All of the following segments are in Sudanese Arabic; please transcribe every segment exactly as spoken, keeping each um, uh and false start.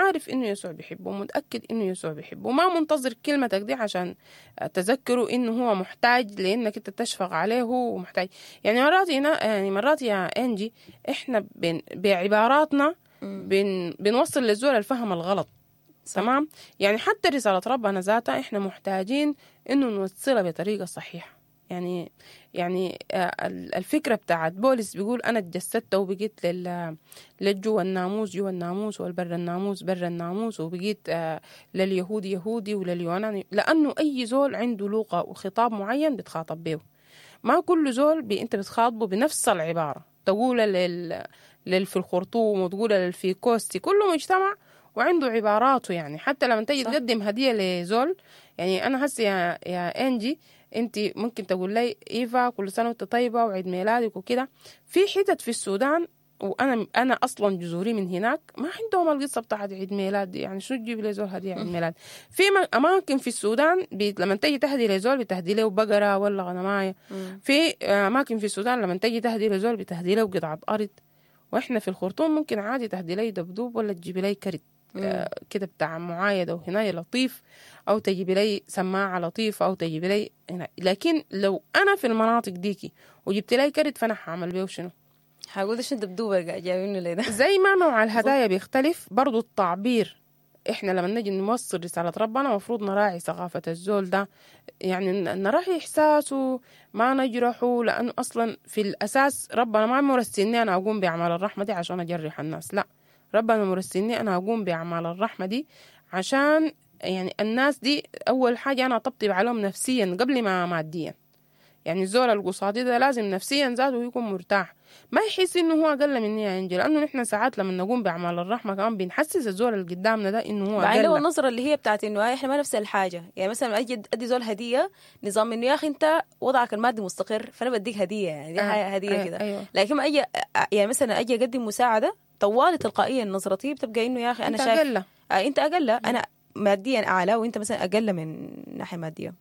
عارف إنه يسوع بيحبه ومتأكد إنه يسوع بيحبه، ما منتظر كلمتك دي عشان تذكره إنه هو محتاج لإنك أنت تشفق عليه ومحتاج. يعني مرات هنا، يعني مرات يا إنجي إحنا بن بعباراتنا بن بنوصل للزول الفهم الغلط. تمام؟ يعني حتى رسالة ربنا ذاتها إحنا محتاجين إنه نوصلها بطريقة صحيحة. يعني يعني الفكرة بتاعت بولس بيقول أنا اتجسدت وبقيت لل للجوا الناموس جوا الناموس والبر الناموس بر الناموس، وبقيت لليهودي يهودي ولليوناني، لأنه أي زول عنده لغة وخطاب معين بتخاطب به. ما كل زول بي أنت بتخاطبه بنفس العبارة، تقول لل لل في الخرطوم وتقول لل في كوستي، كله مجتمع وعنده عباراته. يعني حتى لما تيجي تقدم هدية لزول، يعني أنا هسي يا يا إنجي انت ممكن تقول لي ايفا كل سنة وانت طيبة وعيد ميلادك وكده. في حتت في السودان وانا انا اصلا جذوري من هناك ما عندهم القصة بتاعت عيد ميلاد دي، يعني شو تجيب لي زول هديه عيد ميلاد؟ في اماكن في السودان لما تيجي تهدي لزول بتهدي له بقرة ولا غنمايه. في اماكن في السودان لما تيجي تهدي لزول بتهدي له قطعه ارض، واحنا في الخرطوم ممكن عادي تهدي لي دبدوب ولا تجيبي لي كرت آه كده بتاع معايدة وهنا لطيف، أو تجيبي لي سماعة لطيفة، أو تجيبي لي هنا. لكن لو أنا في المناطق ديكي وجبت لي كرت فأنا هعمل بيه شنو؟ هقول ده شنو دبدوبة جايبينه لي ده؟ زي ما نوع الهدايا بيختلف برضو التعبير. إحنا لما نجي نوصل رسالة ربنا مفروض نراعي ثقافة الزول ده، يعني نراعي إحساسه، ما نجرحه، لأنه أصلا في الأساس ربنا ما مرسلني أنا أقوم بأعمال الرحمة دي عشان أجرح الناس، لا، ربنا مرسلني أنا أقوم بأعمال الرحمة دي عشان يعني الناس دي أول حاجة أنا أطبطب عليهم نفسيا قبل ما ماديا. يعني الزول القصادي ده لازم نفسيا ذاته يكون مرتاح، ما يحس إنه هو أقل مني يا إنجي، لأنه نحن ساعات لما نقوم بأعمال الرحمة كمان بنحسس الزول اللي قدامنا ده إنه هو أقل. بعدين النظرة اللي هي بتاعت إنه إحنا ما نفس الحاجة، يعني مثلا أجي أدي زول هدية نظام إنه يا أخي أنت وضعك المادي مستقر فأنا بديك هدية، يعني دي آه هدية آه كده. أيوة. لكن ما أجي يعني مثلا أجي أقدم مساعدة طوالي تلقائيا نظرتي بتبقى إنه يا أخي أنا شايف أنت أقل، آه أنت أقل، أنا ماديا أعلى وأنت مثلا أقل من ناحية مادية.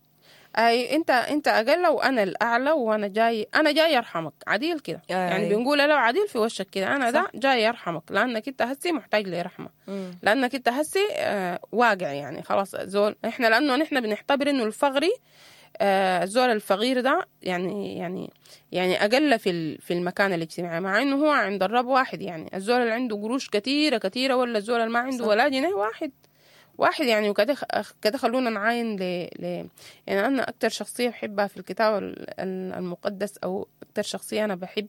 اي انت انت اقل وانا الاعلى، وانا جاي انا جاي ارحمك عديل كده. يعني بنقول له عديل في وشك كده، انا ده جاي ارحمك لانك انت هسي محتاج لرحمه، لانك انت هسي آه واقع، يعني خلاص زول احنا لانه نحن بنعتبر انه الفقري آه الزول الفقير ده يعني يعني يعني اقل في في المكان الاجتماعي، مع انه هو عند الرب واحد. يعني الزول اللي عنده قروش كثيرة كثيرة ولا الزول اللي ما عنده ولا جنيه واحد واحد يعني. وكده كده خلونا نعاين ل ل يعني أنا أكتر شخصية بحبها في الكتاب المقدس، أو أكتر شخصية أنا بحب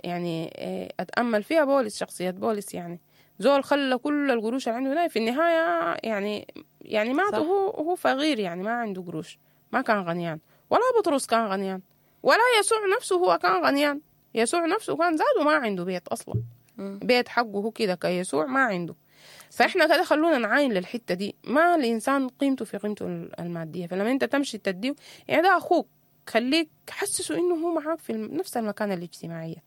يعني أتأمل فيها بولس، شخصية بولس. يعني زول خلى كل القروش اللي عنده في النهاية يعني يعني مات وهو هو فقير، يعني ما عنده قروش، ما كان غنيان، ولا بطرس كان غنيان، ولا يسوع نفسه هو كان غنيان. يسوع نفسه كان زاد وما عنده بيت أصلا، بيت حقه هو كده كيسوع ما عنده. فإحنا كده خلونا نعاين للحتة دي، ما الإنسان قيمته في قيمته المادية. فلما أنت تمشي تديه يعني ده أخوك، خليك حسسه إنه هو معاك في نفس المكانة الاجتماعية،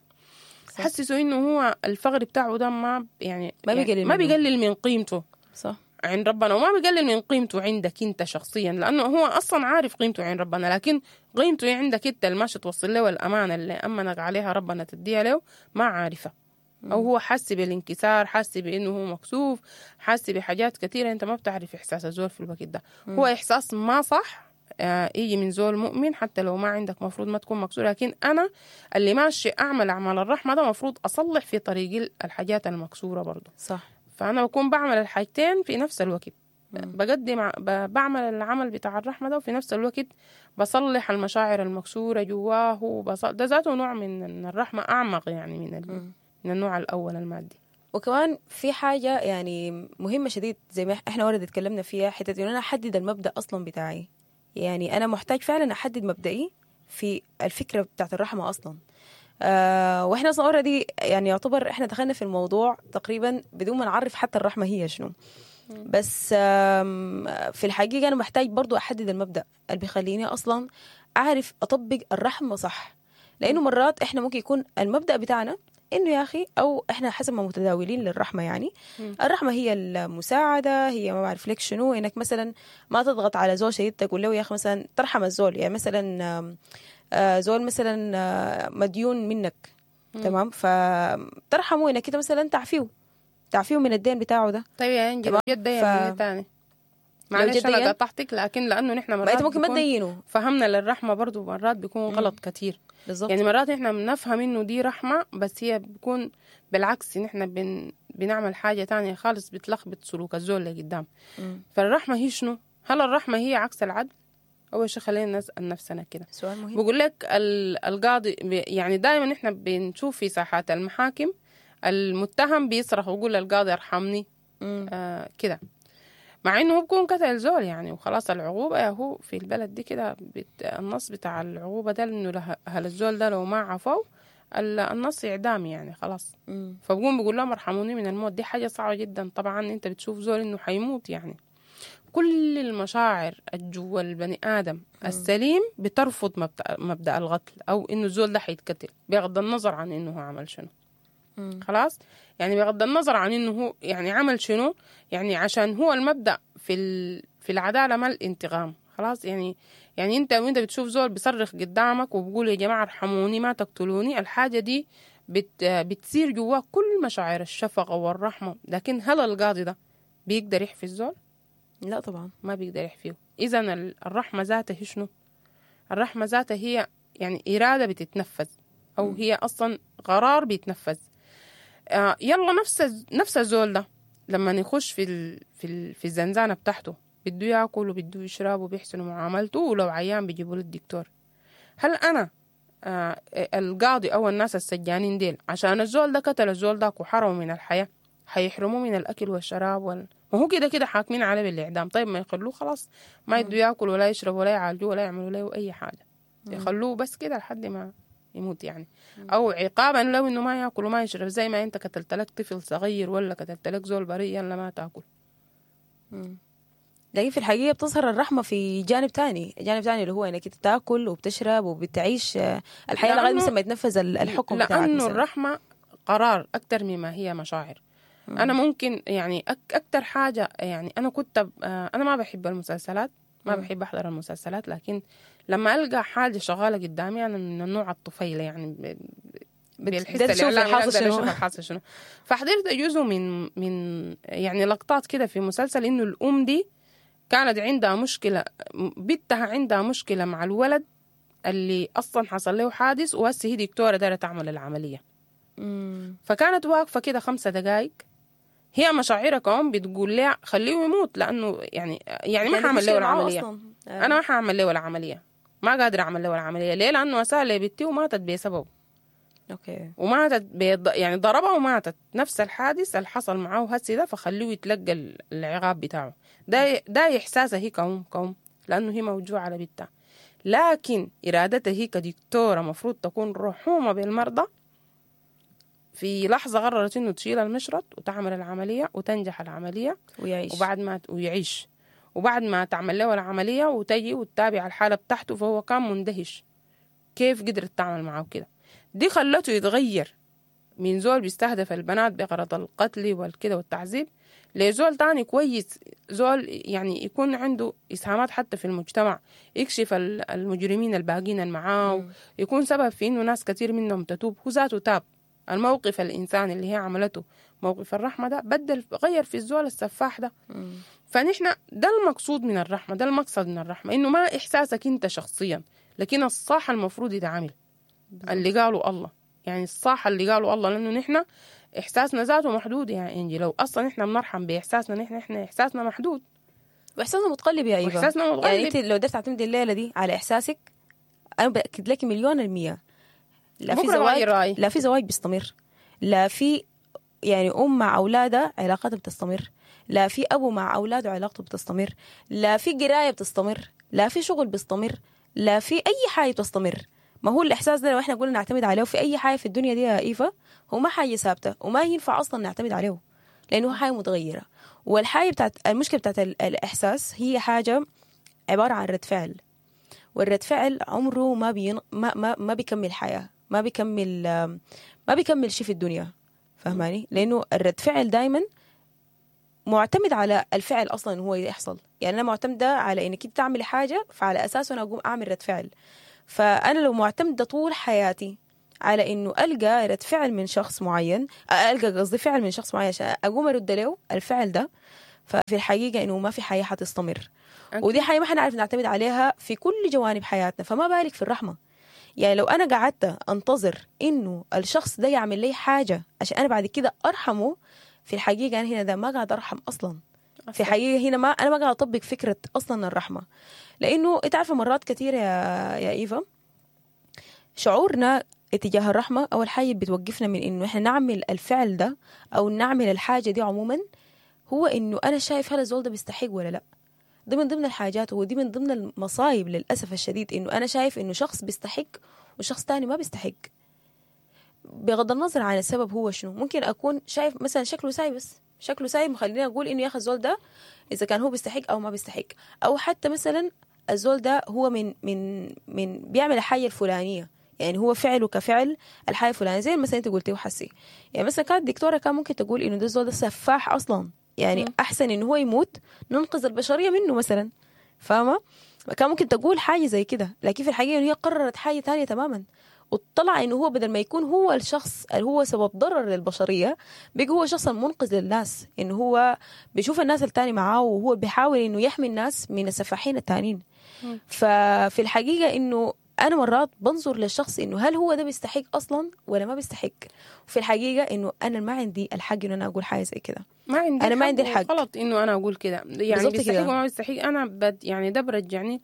حسسه إنه هو الفقر بتاعه ده ما يعني ما بيقلل يعني ما بيقلل من قيمته صح عند ربنا، وما بيقلل من قيمته عندك أنت شخصيا، لأنه هو أصلا عارف قيمته عند ربنا، لكن قيمته عندك أنت اللي ماشي توصل له الأمانة اللي أمنك عليها ربنا تديها له ما عارفة، أو هو حاسس بالانكسار، حاسس بإنه هو مكسوف، حاسس بحاجات كثيرة أنت ما بتعرف إحساس الزول في الوقت ده. مم. هو إحساس ما صح آه يجي من زول مؤمن، حتى لو ما عندك مفروض ما تكون مكسور، لكن أنا اللي ماشي أعمل أعمال الرحمة ده مفروض أصلح في طريقي الحاجات المكسورة برضو صح. فأنا بكون بعمل الحاجتين في نفس الوقت، مم. بقدم بعمل العمل بتاع الرحمة ده، وفي نفس الوقت بصلح المشاعر المكسورة جواه، وبص... ده ذاته نوع من الرحمة أعمق يعني من ال... من النوع الأول المادي. وكمان في حاجة يعني مهمة شديد زي ما احنا ورد اتكلمنا فيها، حتة إنه أنا أحدد المبدأ أصلا بتاعي. يعني أنا محتاج فعلا أحدد مبدئي في الفكرة بتاعت الرحمة أصلا. آه وإحنا أصلا already يعني يعتبر إحنا دخلنا في الموضوع تقريبا بدون ما نعرف حتى الرحمة هي شنو. بس في الحقيقة أنا محتاج برضو أحدد المبدأ اللي بيخليني أصلا أعرف أطبق الرحمة صح، لأنه مرات إحنا ممكن يكون المبدأ بتاعنا إنه يا أخي، أو إحنا حسب ما متداولين للرحمة، يعني م. الرحمة هي المساعدة، هي ما بعرف لك شنو، إنك مثلا ما تضغط على زول شديد تقول له يا أخي مثلا ترحم الزول، يعني مثلا زول مثلا مديون منك م. تمام، فترحمه إنك كده مثلا تعفيه، تعفيه من الدين بتاعه ده. طيب يا انجي، لو جد ف... تاني معلش انا قطعتك، لكن لانه نحن مرات ما انت ممكن ما تدينه، فهمنا للرحمة برضو مرات بيكون غلط كتير. بالظبط. يعني مرات احنا بنفهم انه دي رحمه، بس هي بيكون بالعكس، نحن بن بنعمل حاجة تانية خالص، بتلخبط سلوك الزول اللي قدام. فالرحمه هي شنو؟ هل الرحمة هي عكس العدل؟ اول شيء خلينا نسال نفسنا كده سؤال مهم. بقول لك القاضي، يعني دائما احنا بنشوف في ساحات المحاكم المتهم بيصرخ ويقول للقاضي ارحمني آه كده، مع انه هو بيكون قتل زول يعني، وخلاص العقوبة هو في البلد دي كده النص بتاع العقوبة ده انه هل الزول ده لو ما عفوا النص اعدام يعني خلاص. مم. فبقوم بيقول لهم ارحموني من الموت. دي حاجة صعبة جدا طبعا، انت بتشوف زول انه حيموت يعني. كل المشاعر الجوا البني ادم السليم بترفض مبدأ, مبدأ القتل او انه الزول ده حيتقتل، بغض النظر عن انه هو عمل شنو. مم. خلاص يعني بغض النظر عن انه هو يعني عمل شنو، يعني عشان هو المبدأ في ال... في العدالة ما الانتقام. خلاص يعني يعني انت وانت بتشوف زول بيصرخ قدامك وبقول يا جماعة ارحموني ما تقتلوني، الحاجة دي بت... بتصير جواه كل مشاعر الشفقة والرحمة. لكن هل القاضي ده بيقدر يحفي الزول؟ لا طبعا ما بيقدر يحفيه. اذا الرحمة ذاتها هي شنو؟ الرحمة ذاتها هي يعني إرادة بتتنفذ، او هي اصلا قرار بيتنفذ. آه يلا نفس نفس الزول ده لما يخش في ال في ال في الزنزانة بتاعته بده ياكل وبده يشرب وبيحسنوا معاملته، ولو عيان بيجيبوا له الدكتور. هل انا آه القاضي او الناس السجانين ديل عشان الزول ده قتل الزول ده وحرمه من الحياة حيحرموه من الاكل والشراب وال... ما هو كده كده حاكمين عليه بالاعدام. طيب ما يخلوه خلاص ما يدوا ياكل ولا يشرب ولا يعالجوه ولا يعملوا له اي حاجة، يخلوه بس كده لحد ما يموت يعني، او عقابا لو انه ما ياكل وما يشرب، زي ما انت قتلت لك طفل صغير ولا قتلت لك زول بريء يلا ما تاكل. لكن في الحقيقة بتظهر الرحمة في جانب تاني، جانب تاني اللي هو انك تاكل وبتشرب وبتعيش الحياة لغاية مثلا ما يتنفذ الحكم بتاعك. لانه الرحمة قرار اكثر مما هي مشاعر. مم. انا ممكن يعني أك اكثر حاجة يعني انا كنت انا ما بحب المسلسلات، ما بحب احضر المسلسلات، لكن لما القى حاجة شغالة قدامي انا من النوع الطفيله يعني بالحس الاعلامي اقدر اشوف الحاصل شنو. فحضرت جزء من من يعني لقطات كده في مسلسل انه الام دي كانت عندها مشكلة، بنتها عندها مشكلة مع الولد اللي اصلا حصل له حادث، وهسه هي دكتورة دايرة تعمل العملية. مم. فكانت واقفة كده خمسة دقائق، هي مشاعرها كمان بتقول لها خليه يموت، لانه يعني يعني ما حاعمل له العملية. انا ما حاعمل له العملية، ما قادرة اعمل له العملية. ليه؟ لانه اسال بنتي وماتت بسببه. okay. وماتت بيض... يعني ضربها وماتت، نفس الحادث اللي حصل معاه هسي ده، فخليه يتلقى العقاب بتاعه ده. ده احساسها هي كوم كوم لانه هي موجوعه على بنتها، لكن ارادتها هي كدكتوره مفروض تكون رحومه بالمرضى. في لحظة قررت إنه تشيل المشرط وتعمل العملية وتنجح العملية ويعيش، وبعد ما ويعيش وبعد ما تعمل له العملية وتجي وتتابع الحالة بتاعته، فهو كان مندهش كيف قدرت تعمل معه كده. دي خلته يتغير من زول بيستهدف البنات بغرض القتل والكده والتعذيب لزول تاني كويس، زول يعني يكون عنده إسهامات حتى في المجتمع، يكشف المجرمين الباقين معاه، يكون سبب في إنه ناس كتير منهم تتوب. هو ذاته تاب. الموقف الإنسان اللي هي عملته موقف الرحمة ده بدل غير في الزول السفاح ده. مم. فنحن ده المقصود من الرحمة، ده المقصد من الرحمة، إنه ما إحساسك أنت شخصيا، لكن الصح المفروض يتعامل اللي قالوا الله، يعني الصح اللي قالوا الله، لأنه نحن إحساسنا ذاته محدود يا إنجي. لو أصلا نحن بنرحم بإحساسنا، نحن إحنا إحساسنا محدود وإحساسنا متقلب يا إيفا. وإحساسنا متقلب. يعني أنت لو قدرت تعتمدي الليلة دي على إحساسك، أنا بأكد لك مليون المية لا في زواج، لا في زواج بيستمر، لا في يعني أم مع أولادها علاقتها بتستمر، لا في أبو مع أولاده علاقته بتستمر، لا في قراية بتستمر، لا في شغل بيستمر، لا في أي حاجة بتستمر. ما هو الإحساس ده لو إحنا قلنا نعتمد عليه في أي حاجة في الدنيا دي يا إيفا، هو ما حاجة ثابتة وما ينفع أصلا نعتمد عليه، لأنه حاجة متغيرة. والحاجة بتاعت المشكلة بتاعت الإحساس هي حاجة عبارة عن رد فعل، والرد فعل عمره ما بين ما ما ما بيكمل حياة، ما بيكمل ما بيكمل شيء في الدنيا، فهماني؟ لأنه الرد فعل دايما معتمد على الفعل أصلا هو يحصل. يعني أنا معتمدة على إنك تعمل حاجة، فعلى أساسه أنا أقوم أعمل رد فعل. فأنا لو معتمدة طول حياتي على انه القى رد فعل من شخص معين، القى قصدي فعل من شخص معين عشان اقوم ارد له الفعل ده، ففي الحقيقة انه ما في حياة حتستمر. أكيد. ودي حاجة ما حنعرف نعتمد عليها في كل جوانب حياتنا، فما بالك في الرحمة. يعني لو انا قعدت انتظر انه الشخص ده يعمل لي حاجة عشان انا بعد كده ارحمه، في الحقيقة انا هنا ده ما قاعد ارحم اصلا. في حقيقة هنا ما انا ما قاعد اطبق فكرة اصلا الرحمة، لانه انت عارفه مرات كثير يا يا ايفا شعورنا اتجاه الرحمة اول حاجة بتوقفنا من انه احنا نعمل الفعل ده او نعمل الحاجة دي عموما، هو انه انا شايف هل الزول ده بيستحق ولا لا. ده من ضمن الحاجات، ودي من ضمن المصايب للاسف الشديد، انه انا شايف انه شخص بيستحق وشخص تاني ما بيستحق، بغض النظر عن السبب هو شنو. ممكن اكون شايف مثلا شكله ساي، بس شكله ساي مخليني اقول انه يا اخي الزول ده اذا كان هو بيستحق او ما بيستحق، او حتى مثلا الزول ده هو من من من بيعمل الحاجة الفلانية، يعني هو فعله كفعل الحاجة الفلانية، زي مثلا انت قلتي وحسي. يعني مثلا كانت دكتورة كان ممكن تقول انه ده الزول ده سفاح اصلا، يعني احسن انه هو يموت ننقذ البشرية منه مثلا، فاهمه؟ كان ممكن تقول حاجة زي كده، لكن في الحقيقة انه هي قررت حاجة ثانية تماما، وطلع انه هو بدل ما يكون هو الشخص اللي هو سبب ضرر للبشرية، بقى هو شخص المنقذ للناس، انه هو بيشوف الناس التاني معاه وهو بيحاول انه يحمي الناس من السفاحين التانيين. ففي الحقيقة انه انا مرات بنظر للشخص انه هل هو ده بيستحق اصلا ولا ما بيستحق، وفي الحقيقة انه انا ما عندي الحق انه انا اقول حاجة زي كده. ما عندي انا ما عندي الحق، غلط انه انا اقول كده، يعني بيستحق وما بيستحق. انا بد يعني ده برجعني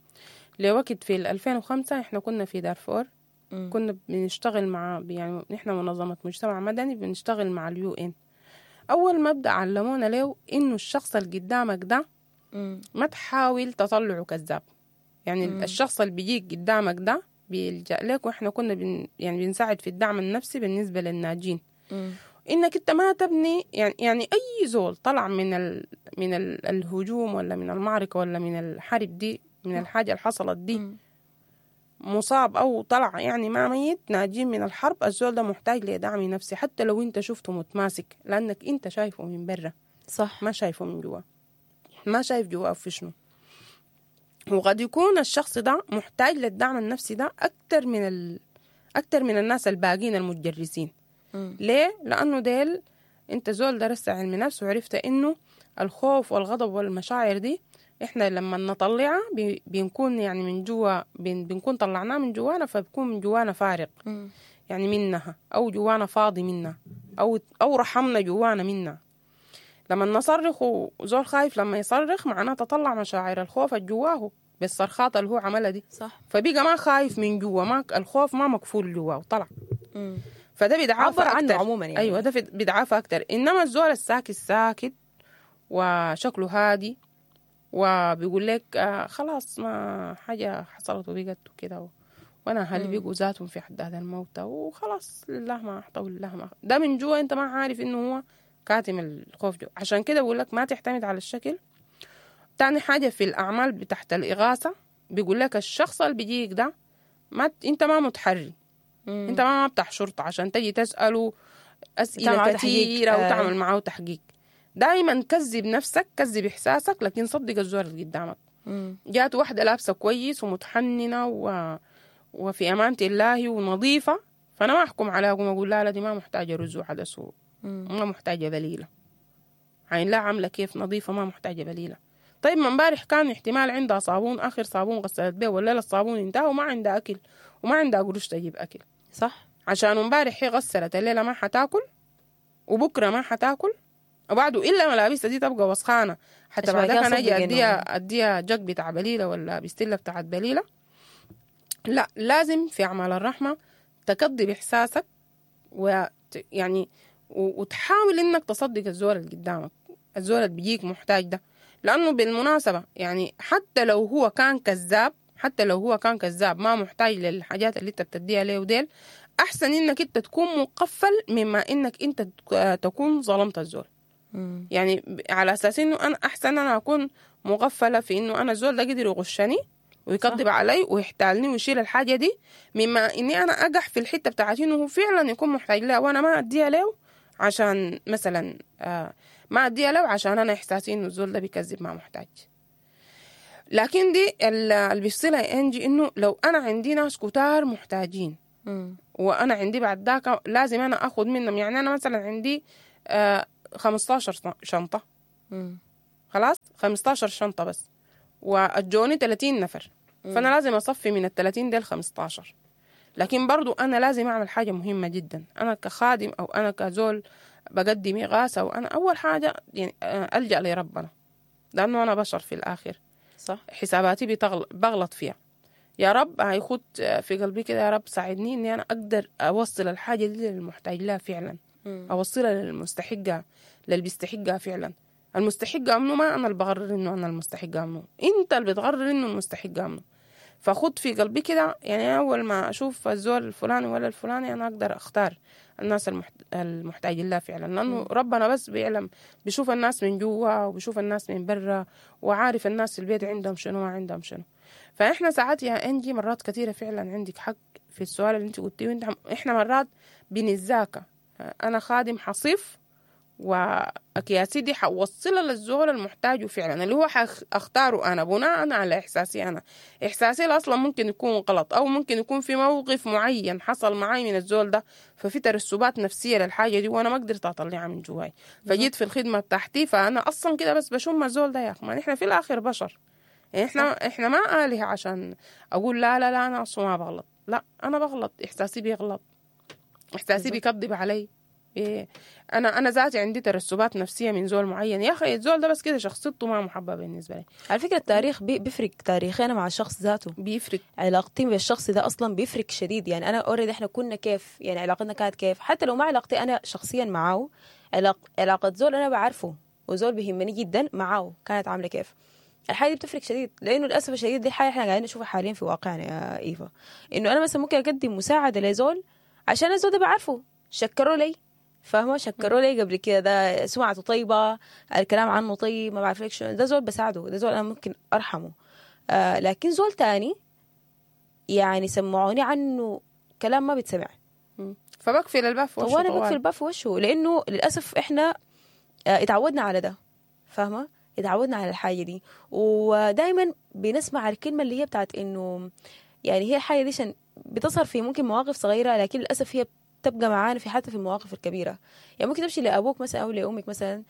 لوقت في ألفين وخمسة احنا كنا في دارفور، م. كنا بنشتغل مع يعني نحن منظمة مجتمع مدني بنشتغل مع ال UN. اول مبدا علمونا له انه الشخص اللي قدامك ده م. ما تحاول تطلعه كذاب، يعني م. الشخص اللي بيجيك قدامك ده بيلجأ لك، واحنا كنا بن يعني بنساعد في الدعم النفسي بالنسبة للناجين. م. انك انت ما تبني يعني يعني اي زول طلع من ال من ال الهجوم ولا من المعركة ولا من الحرب دي، من الحاجة اللي حصلت دي، م. مصاب او طلع يعني ما ميت، ناجين من الحرب، الزول ده محتاج لدعم نفسي حتى لو انت شفته متماسك، لانك انت شايفه من برا صح، ما شايفه من جوا، ما شايف جواه في شنو. وقد يكون الشخص ده محتاج للدعم النفسي ده أكتر من ال... أكتر من الناس الباقين المتجرسين. م. ليه؟ لأنه ديل أنت زول درست علم نفس وعرفت إنه الخوف والغضب والمشاعر دي إحنا لما نطلعها بي... بنكون يعني من جوا بن... بنكون طلعناها من جوانا، فبكون من جوانا فارغ. م. يعني منها، أو جوانا فاضي منها، أو أو رحمنا جوانا منها. لما نصرخ وزول خايف لما يصرخ معناه تطلع مشاعر الخوف جواه بالصرخات اللي هو عملها دي، صح. فبيقى ما خايف من جوا، ما الخوف ما مقفول جواه وطلع. فده بيدعافى اكتر عنه عموما يعني. ايوه ده بيدعافى اكتر. انما الزول الساكت ساكت وشكله هادي وبيقول لك آه خلاص ما حاجة حصلت وبقت وكده و... وانا اهلي بيقوا ذاتهم في حداد الموتى وخلاص لله ما اعطى ولله ما، ده من جوا انت ما عارف انه هو كاتم الخوف جو. عشان كده بقول لك ما تعتمد على الشكل. تاني حاجة في الأعمال بتاعت الإغاثة بيقول لك الشخص اللي بيجيك ده ما ت... انت ما متحري، مم. انت ما بتاع شرطة عشان تجي تسأله أسئلة كثيرة وتعمل معه تحقيق. دايما كذب نفسك، كذب إحساسك، لكن صدق الزول اللي قدامك. جات واحدة لابسة كويس ومتحننة و... وفي أمانة الله ونظيفة، فأنا ما أحكم عليها وأقوم أقول لا لا دي ما محتاجة رز وعدس، ما محتاجة بليلة، عين لا عاملة كيف نظيفة ما محتاجة بليلة. طيب ما امبارح كان احتمال عندها صابون، آخر صابون غسلت به ولا الصابون انتهى وما عندها أكل وما عندها قروش تجيب أكل، صح. عشان امبارح هي غسلت الليلة ما حتاكل وبكرة ما حتاكل وبعده إلا ملابسها دي تبقى وسخانة، حتى بعدك أنا أجي أديها أديها جك بتاع بليلة ولا بستلة بتاعت بليلة. لا، لازم في أعمال الرحمة تكذب إحساسك و يعني وتحاول انك تصدق الزول اللي قدامك، الزول اللي بيجيك محتاج ده. لانه بالمناسبة يعني حتى لو هو كان كذاب، حتى لو هو كان كذاب ما محتاج للحاجات اللي انت بتديها له وديل، احسن انك انت تكون مقفل مما انك انت تكون ظلمت الزول. م. يعني على اساس انه انا احسن انا اكون مغفله في انه انا الزول ده قدر يغشني ويكذب علي ويحتالني ويشيل الحاجة دي، مما اني انا اقح في الحتة بتاعت انه هو فعلا يكون محتاج لها وانا ما اديها له، عشان مثلا آه ما اديها له عشان انا احساسي انه الزول ده بيكذب ما محتاج. لكن دي اللي بيفصلها انجي انه لو انا عندي ناس كتار محتاجين، مم. وانا عندي بعد ذاك لازم انا اخذ منهم. يعني انا مثلا عندي آه خمستاشر شنطه. مم. خلاص خمستاشر شنطه بس، واجوني تلاتين نفر. مم. فانا لازم اصفي من ال تلاتين ديل خمستاشر. لكن برضو انا لازم اعمل حاجة مهمة جدا، انا كخادم او انا كزول بقدم اغاثه، وانا اول حاجة يعني الجا لربنا، لانه انا بشر في الاخر. صح. حساباتي بتغل... بغلط فيها. يا رب هيخد في قلبي كده، يا رب ساعدني اني انا اقدر اوصل الحاجة دي للمحتاج لها فعلا. مم. اوصلها للمستحقه، للي بيستحقها فعلا. المستحقه منه ما انا اللي بغرر انه انا المستحقه منه، انت اللي بتغرر انه المستحقه منه. فخد في قلبي كده، يعني اول ما اشوف الزول الفلاني ولا الفلاني انا اقدر اختار الناس المحت... المحتاجين لها فعلا، لانه ربنا بس بيعلم، بيشوف الناس من جوا وبيشوف الناس من برا، وعارف الناس في البيت عندهم شنو ما عندهم شنو. فاحنا ساعات يا انجي مرات كثيرة فعلا عندك حق في السؤال اللي انت قلتيه، وانت احنا مرات بنتذاكى. انا خادم حصيف واكياسي دي حوصلها للزول المحتاجه فعلا، اللي هو حاختاره انا بناء على احساسي انا. احساسي اصلا ممكن يكون غلط، او ممكن يكون في موقف معين حصل معي من الزول ده، ففي ترسبات نفسية للحاجة دي وانا ما قدرت اطلعها من جواي، فجيت في الخدمة بتاعتي فانا اصلا كده بس بشم الزول ده. يا اخي ما احنا في الاخر بشر، يعني احنا احنا ما آلهة عشان اقول لا لا لا انا اصلا ما بغلط. لا انا بغلط، احساسي بيغلط، احساسي بيكذب علي. إيه انا انا ذاتي عندي ترسبات نفسية من زول معين. يا اخي الزول ده بس كده شخصيته ما محبة بالنسبة لي. على فكرة التاريخ بي بيفرق، تاريخي انا مع الشخص ذاته بيفرق، علاقتي بالشخص ده اصلا بيفرق شديد. يعني انا already احنا كنا كيف، يعني علاقتنا كانت كيف، حتى لو ما علاقتي انا شخصيا معاه، علاق علاقة زول انا بعرفه وزول بيهمني جدا معاه كانت عامله كيف. الحاجة دي بتفرق شديد، لانه للاسف الشديد دي حاجة احنا قاعدين نشوفها حاليا في واقعنا يا ايفا، انه انا مثلا ممكن اقدم مساعدة لزول عشان الزول ده بعرفه، شكروا لي، فاهمه، شكروا لي قبل كده، ده سمعته طيبة، الكلام عنه طيب، ما بعرف لك شنو، ده زول بساعده، ده زول انا ممكن ارحمه. آه لكن زول تاني يعني سمعوني عنه كلام ما بيتسمع، فبقفل الباب في وشه. وانا بقفل الباب في وشه، لانه للاسف احنا آه اتعودنا على ده، فاهمه، اتعودنا على الحاجة دي، ودائما بنسمع الكلمة اللي هي بتاعت انه يعني هي الحاجة دي عشان بتظهر في ممكن مواقف صغيرة، لكن للاسف هي تبقى معانا في حتى في المواقف الكبيرة. يعني ممكن تمشي لابوك مثلا او لامك مثلا،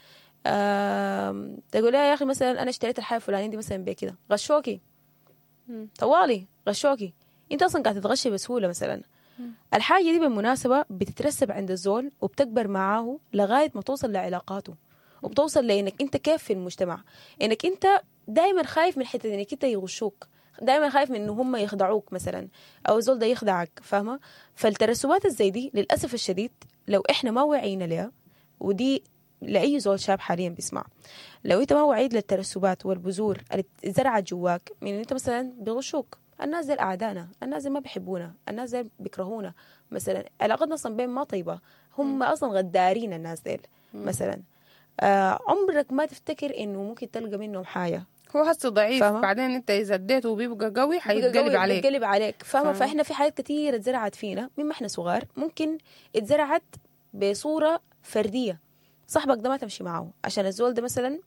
تقول لها يا اخي مثلا انا اشتريت الحاجة الفلانية دي مثلا بكده، غشوكي طوالي، غشوكي، انت اصلا قاعد تتغشي بسهولة مثلا. الحاجة دي بالمناسبة بتترسب عند الزول وبتكبر معاه لغاية ما توصل لعلاقاته، وبتوصل لانك انت كيف في المجتمع، انك انت دائما خايف من حتة انك انت يغشوك، دائما خايف من انه هم يخدعوك مثلا، او الزول ده يخدعك، فاهمه. فالترسبات الزي دي للاسف الشديد لو احنا ما وعينا لها، ودي لاي زول شاب حاليا بيسمع، لو انت ما وعيت للترسبات والبذور اللي زرعت جواك من ان انت مثلا بيغشوك، الناس دي اعدائنا، الناس دي ما بيحبونا، الناس دي بيكرهونا مثلا، علاقتنا اصلا بين ما طيبة، هم اصلا غدارين الناس ديل مثلا، آه عمرك ما تفتكر انه ممكن تلقى منهم حاجة. هو هسه ضعيف، بعدين انت اذا اديته وبيبقى قوي حيتقلب عليك، بيتقلب عليك، فاهمه. فاحنا في حاجات كثيرة اتزرعت فينا مما احنا صغار، ممكن اتزرعت بصورة فردية، صاحبك ده ما تمشي معه عشان الزول ده مثلا،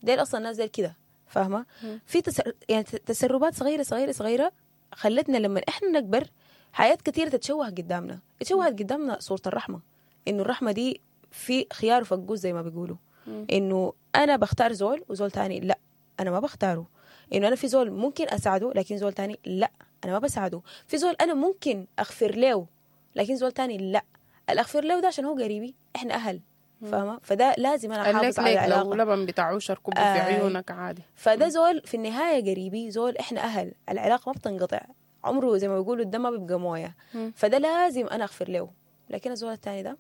ديل اصلا الناس ديل كده، فاهمه. في تسر... يعني تسربات صغيرة صغيرة صغيرة خلتنا لما احنا نكبر حياة كثيرة تتشوه قدامنا، اتشوهت قدامنا صوره الرحمة، انه الرحمة دي في خيار وفقوس زي ما بيقولوا، انه انا بختار زول وزول تاني لا انا ما بختاره، انه انا في زول ممكن اساعده لكن زول تاني لا انا ما بساعده، في زول انا ممكن اغفر له لكن زول تاني لا، الاغفر له ده عشان هو قريبي، احنا اهل، فاهمه. فده لازم انا احافظ على العلاقة. لو لبن بتاع عشر كوب آه في عيونك عادي. فده زول في النهاية قريبي، زول احنا اهل، العلاقة ما بتنقطع، عمره زي ما بيقولوا الدم ما بيبقى مويه، فده لازم انا اغفر له، لكن الزول التاني ده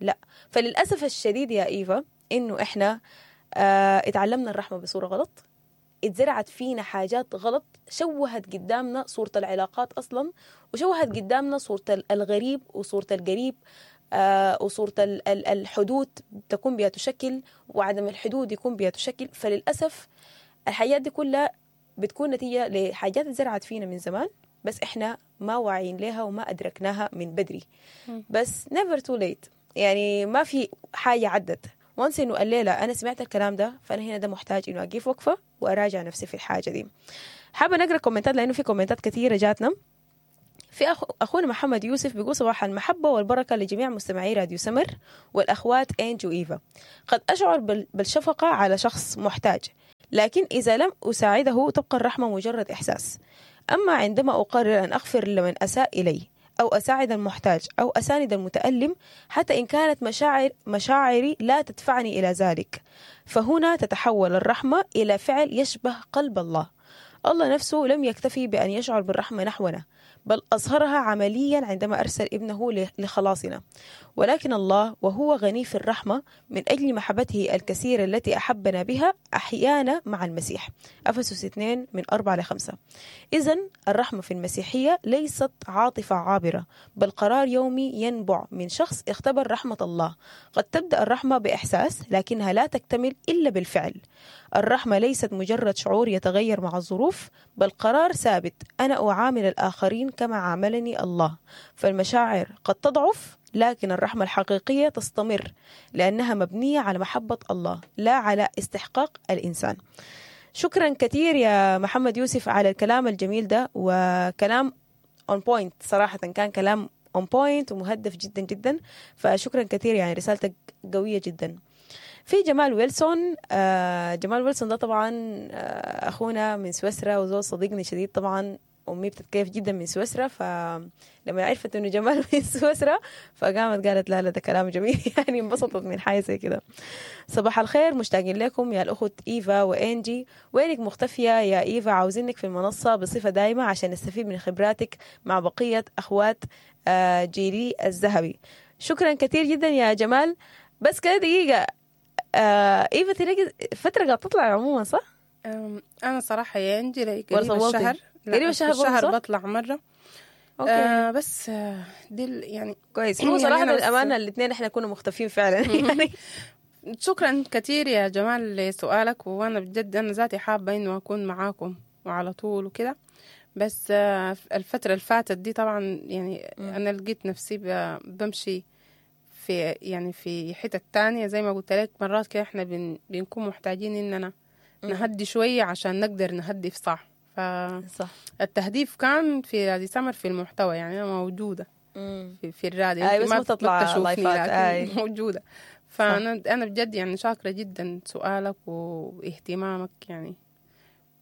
لا. فللاسف الشديد يا ايفا انه احنا آه، اتعلمنا الرحمة بصورة غلط، اتزرعت فينا حاجات غلط، شوهت قدامنا صورة العلاقات أصلا، وشوهت قدامنا صورة الغريب وصورة القريب، آه، وصورة الحدود تكون بها تشكل وعدم الحدود يكون بها تشكل. فللأسف الحاجات دي كلها بتكون نتيجة لحاجات اتزرعت فينا من زمان، بس احنا ما واعيين لها وما أدركناها من بدري. بس never too late، يعني ما في حاجة عدت. وانس انه الليلة انا سمعت الكلام ده، فانا هنا ده محتاج انه اقف وقفه واراجع نفسي في الحاجة دي. حابة نقرا كومنتات لانه في كومنتات كثيرة جاتنا. في أخو أخونا محمد يوسف بيقول صباح المحبة والبركة لجميع مستمعي راديو سمر والأخوات إنجي وإيفا. قد أشعر بالشفقة على شخص محتاج، لكن إذا لم أساعده تبقى الرحمة مجرد إحساس. أما عندما أقرر أن أغفر لمن أساء إلي أو أساعد المحتاج أو أساند المتألم، حتى إن كانت مشاعر مشاعري لا تدفعني إلى ذلك، فهنا تتحول الرحمة إلى فعل يشبه قلب الله. الله نفسه لم يكتفي بأن يشعر بالرحمة نحونا، بل أظهرها عمليا عندما أرسل ابنه لخلاصنا. ولكن الله وهو غني في الرحمة، من أجل محبته الكثيرة التي أحبنا بها أحيانا مع المسيح. أفسس اثنين من أربعة لخمسة. إذن الرحمة في المسيحية ليست عاطفة عابرة، بل قرار يومي ينبع من شخص اختبر رحمة الله. قد تبدأ الرحمة بإحساس، لكنها لا تكتمل إلا بالفعل. الرحمة ليست مجرد شعور يتغير مع الظروف، بل قرار ثابت: أنا أعامل الآخرين كما عاملني الله. فالمشاعر قد تضعف، لكن الرحمة الحقيقية تستمر، لأنها مبنية على محبة الله لا على استحقاق الإنسان. شكرا كثير يا محمد يوسف على الكلام الجميل ده، وكلام on point صراحة، كان كلام on point ومهدف جدا جدا، فشكرا كثير، يعني رسالتك قوية جدا. في جمال ويلسون، آه جمال ويلسون ده طبعا آه أخونا من سويسرا وزول صديقني شديد طبعا، أمي بتتكيف جدا من سويسرا، فلما عرفت إنه جمال من سويسرا فقامت قالت لا لا ده كلام جميل يعني انبسطت من حاجة زي كده. صباح الخير، مشتاقين لكم يا الأخت إيفا وإنجي. وينك مختفية يا إيفا؟ عاوزينك في المنصة بصفة دائمة عشان نستفيد من خبراتك مع بقية أخوات جيلي الذهبي. شكرا كثير جدا يا جمال. بس كده دقيقة، إيفا تلاقي فترة قاعدة تطلع عموما صح؟ أنا صراحة يا إنجي قريب الشهر، قريب الشهر الشهر بطلع مرة. okay. آه بس دي يعني كويس. هو صراحة يعني للأمانة الاثنين احنا كنا مختفين فعلا يعني. شكرا كثير يا جمال لسؤالك، وأنا بجد أنا ذاتي حابة إنه أكون معاكم وعلى طول وكده، بس آه الفترة اللي فاتت دي طبعا يعني م. أنا لقيت نفسي بمشي في يعني في حتة تانية زي ما قلت لك، مرات كده احنا بن بنكون محتاجين إننا نهدي شوية عشان نقدر نهدف صح. فالتهديف كان في راديو سمر في المحتوى، يعني أنا موجودة في, في الراديو، أي بس ما تطلع لايفات، أي موجودة. فأنا أنا بجد يعني شاكرة جدا سؤالك واهتمامك يعني،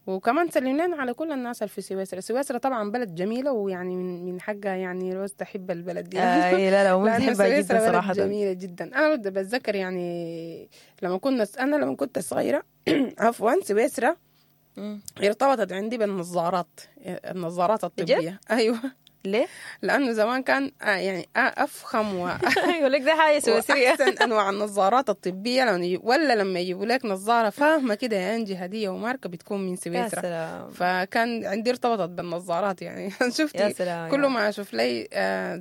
وكمان سلم لنا على كل الناس اللي في سويسرا. سويسرا طبعا بلد جميلة، ويعني من من حقها يعني روز تحب البلد دي. أي لا لا بحبها جدا صراحة، جميلة جدا. أنا بتذكر يعني لما كنا أنا لما كنت صغيرة عفوا سويسرا ارتبطت عندي بالنظارات، النظارات الطبية. أيوة. ليه؟ لأنه زمان كان يعني أفخم و أيوة لك ده حاجة سويسرية، أحسن أنواع النظارات الطبية لما ولا لما يجيبوا لك نظارة فاهمة كده يا أنجي هدية وماركة بتكون من سويسرا. فكان عندي ارتبطت بالنظارات يعني. شفتي كل ما أشوف لي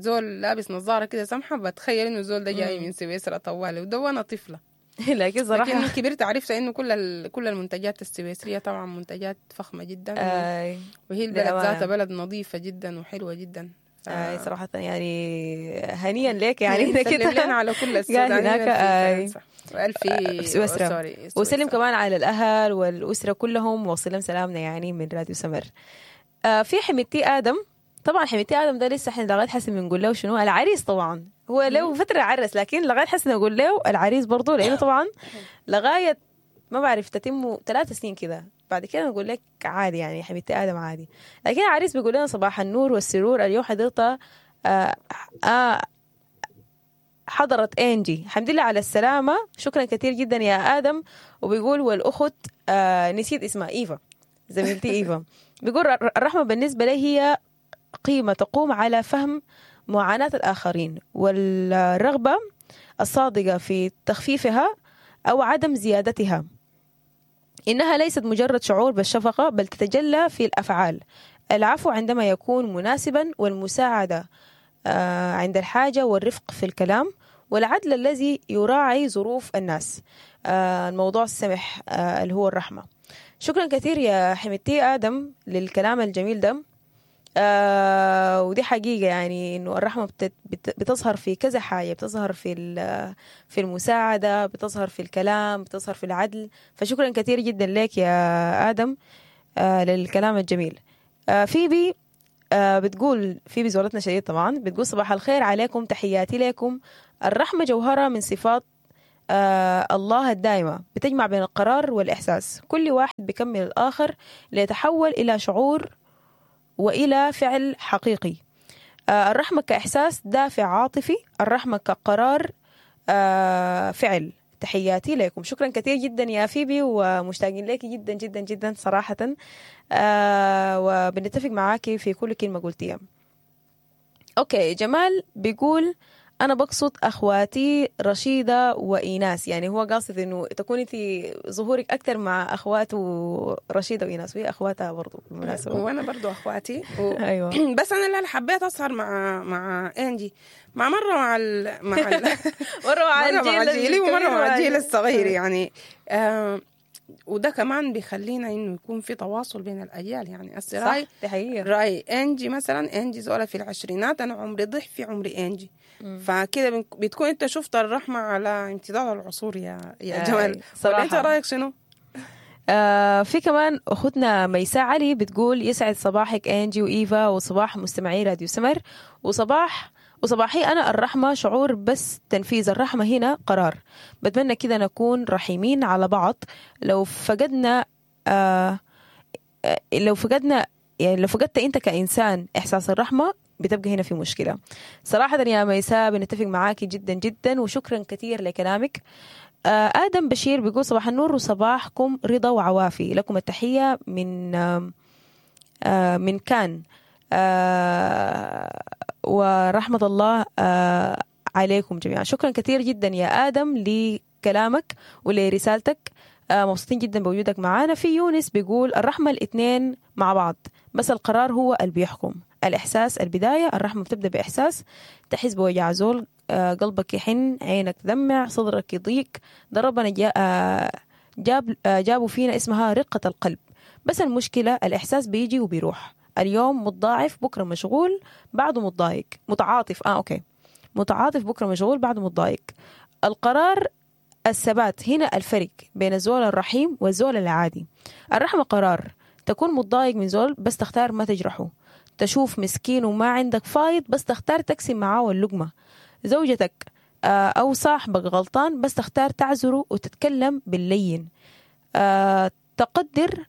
زول لابس نظارة كده سمحة بتخيل إنه زول ده جاي من سويسرا طوالي، وده وأنا طفلة. لكن صراحة لكن كبرت عرفت إنه كل كل المنتجات السويسرية طبعا منتجات فخمة جدا، آي. وهي البلد ذاتها بلد نظيفة جدا وحلوة جدا. ف... آي صراحة يعني هنيا لك يعني سلم لنا على كل السودانيين هناك في سويسرا، وسلم كمان على الأهل والأسرة كلهم، وصلهم سلامنا يعني من راديو سمر. آه في حميدتي آدم، طبعا حميدتي آدم ده لسه احنا لغاية حسن بنقول له شنو العريس، طبعا هو له فترة عرس، لكن لغاية حسن أقول له العريس برضو، لأنه طبعا لغاية ما بعرف تتمه ثلاث سنين كده بعد كده نقول لك عادي يعني حبيبتي آدم عادي. لكن العريس بيقول لنا صباح النور والسرور، اليوم حضرت آه آه حضرت إنجي، الحمد لله على السلامة، شكرا كثير جدا يا آدم. وبيقول والأخت آه نسيت اسمها إيفا، زميلتي إيفا، بيقول الرحمة بالنسبة لي هي قيمة تقوم على فهم معاناة الآخرين والرغبة الصادقة في تخفيفها أو عدم زيادتها. إنها ليست مجرد شعور بالشفقة، بل تتجلى في الأفعال. العفو عندما يكون مناسبا، والمساعدة عند الحاجة، والرفق في الكلام، والعدل الذي يراعي ظروف الناس. الموضوع السمح اللي هو الرحمة. شكرا كثير يا حميدتي آدم للكلام الجميل ده. آه ودي حقيقة يعني إنه الرحمة بت بتظهر في كذا حاجة، بتظهر في في المساعدة، بتظهر في الكلام، بتظهر في العدل. فشكرا كثير جدا لك يا آدم آه للكلام الجميل. آه فيبي آه بتقول فيبي زولتنا شديد طبعا، بتقول صباح الخير عليكم، تحياتي لكم. الرحمة جوهرة من صفات آه الله الدائمة، بتجمع بين القرار والإحساس، كل واحد بيكمل الآخر ليتحول إلى شعور وإلى فعل حقيقي. آه الرحمة كإحساس دافع عاطفي، الرحمة كقرار آه فعل. تحياتي لكم. شكرا كثير جدا يا فيبي، ومشتاقين لك جدا جدا جدا صراحة، آه وبنتفق معاكي في كل كلمة قلتيها. okay، جمال بيقول أنا بقصد أخواتي رشيدة وإيناس، يعني هو قاصد إنه تكون أنت ظهورك أكثر مع أخواته رشيدة وإيناس، وهي أخواتها برضو بالمناسبة. وانا برضو اخواتي و... أيوة. بس انا اللي حبيت اسهر مع مع انجي، مع مرة مع ال... مع ال... مرة مع مرة مع الجيل جيلي ومرة الكبير مع الجيل ومع- الصغير يعني. آه وده كمان بيخلينا انه يكون في تواصل بين الاجيال يعني. هسه صح، راي دي حقيقة. راي انجي مثلا، انجي زولة في العشرينات، انا عمري ضعف في عمري انجي، فكده بن- بتكون انت شفت الرحمة على امتداد العصور يا يا آي، جمال. ولا صراحة. انت رايك شنو؟ آه في كمان أختنا ميساء علي بتقول يسعد صباحك أنجي وإيفا، وصباح مستمعي راديو سمر، وصباح وصباحي أنا. الرحمة شعور بس تنفيذ الرحمة هنا قرار. بتمنى كده نكون رحيمين على بعض. لو فقدنا آه آه، لو فقدنا يعني لو فقدت أنت كإنسان إحساس الرحمة بتبقى هنا في مشكلة صراحة. يا ميساء بنتفق معاكي جدا جدا، وشكرا كثير لكلامك. آه، آدم بشير بيقول صباح النور وصباحكم رضا وعوافي، لكم التحية من آم، آه، من كان، آه، ورحمة الله آه، عليكم جميعا. شكرا كثير جدا يا آدم لكلامك ولرسالتك، آه، مبسوطين جدا بوجودك معانا. في يونس بيقول الرحمة الاثنين مع بعض، بس القرار هو اللي بيحكم. الإحساس البداية، الرحمة بتبدأ بإحساس، تحس بوجع زول، آه، قلبك يحن، عينك تدمع، صدرك يضيق. ده ربنا جا آه، جاب آه، جابوا فينا اسمها رقة القلب. بس المشكلة الإحساس بيجي وبيروح، اليوم متضاعف بكرة مشغول بعده متضايق، متعاطف آه okay متعاطف بكرة مشغول بعده متضايق. القرار الثبات، هنا الفرق بين الزول الرحيم والزول العادي. الرحمة قرار، تكون متضايق من زول بس تختار ما تجرحه، تشوف مسكين وما عندك فايض بس تختار تقسم معاه اللقمة، زوجتك آه، أو صاحبك غلطان بس تختار تعذره وتتكلم باللين، آه، تقدر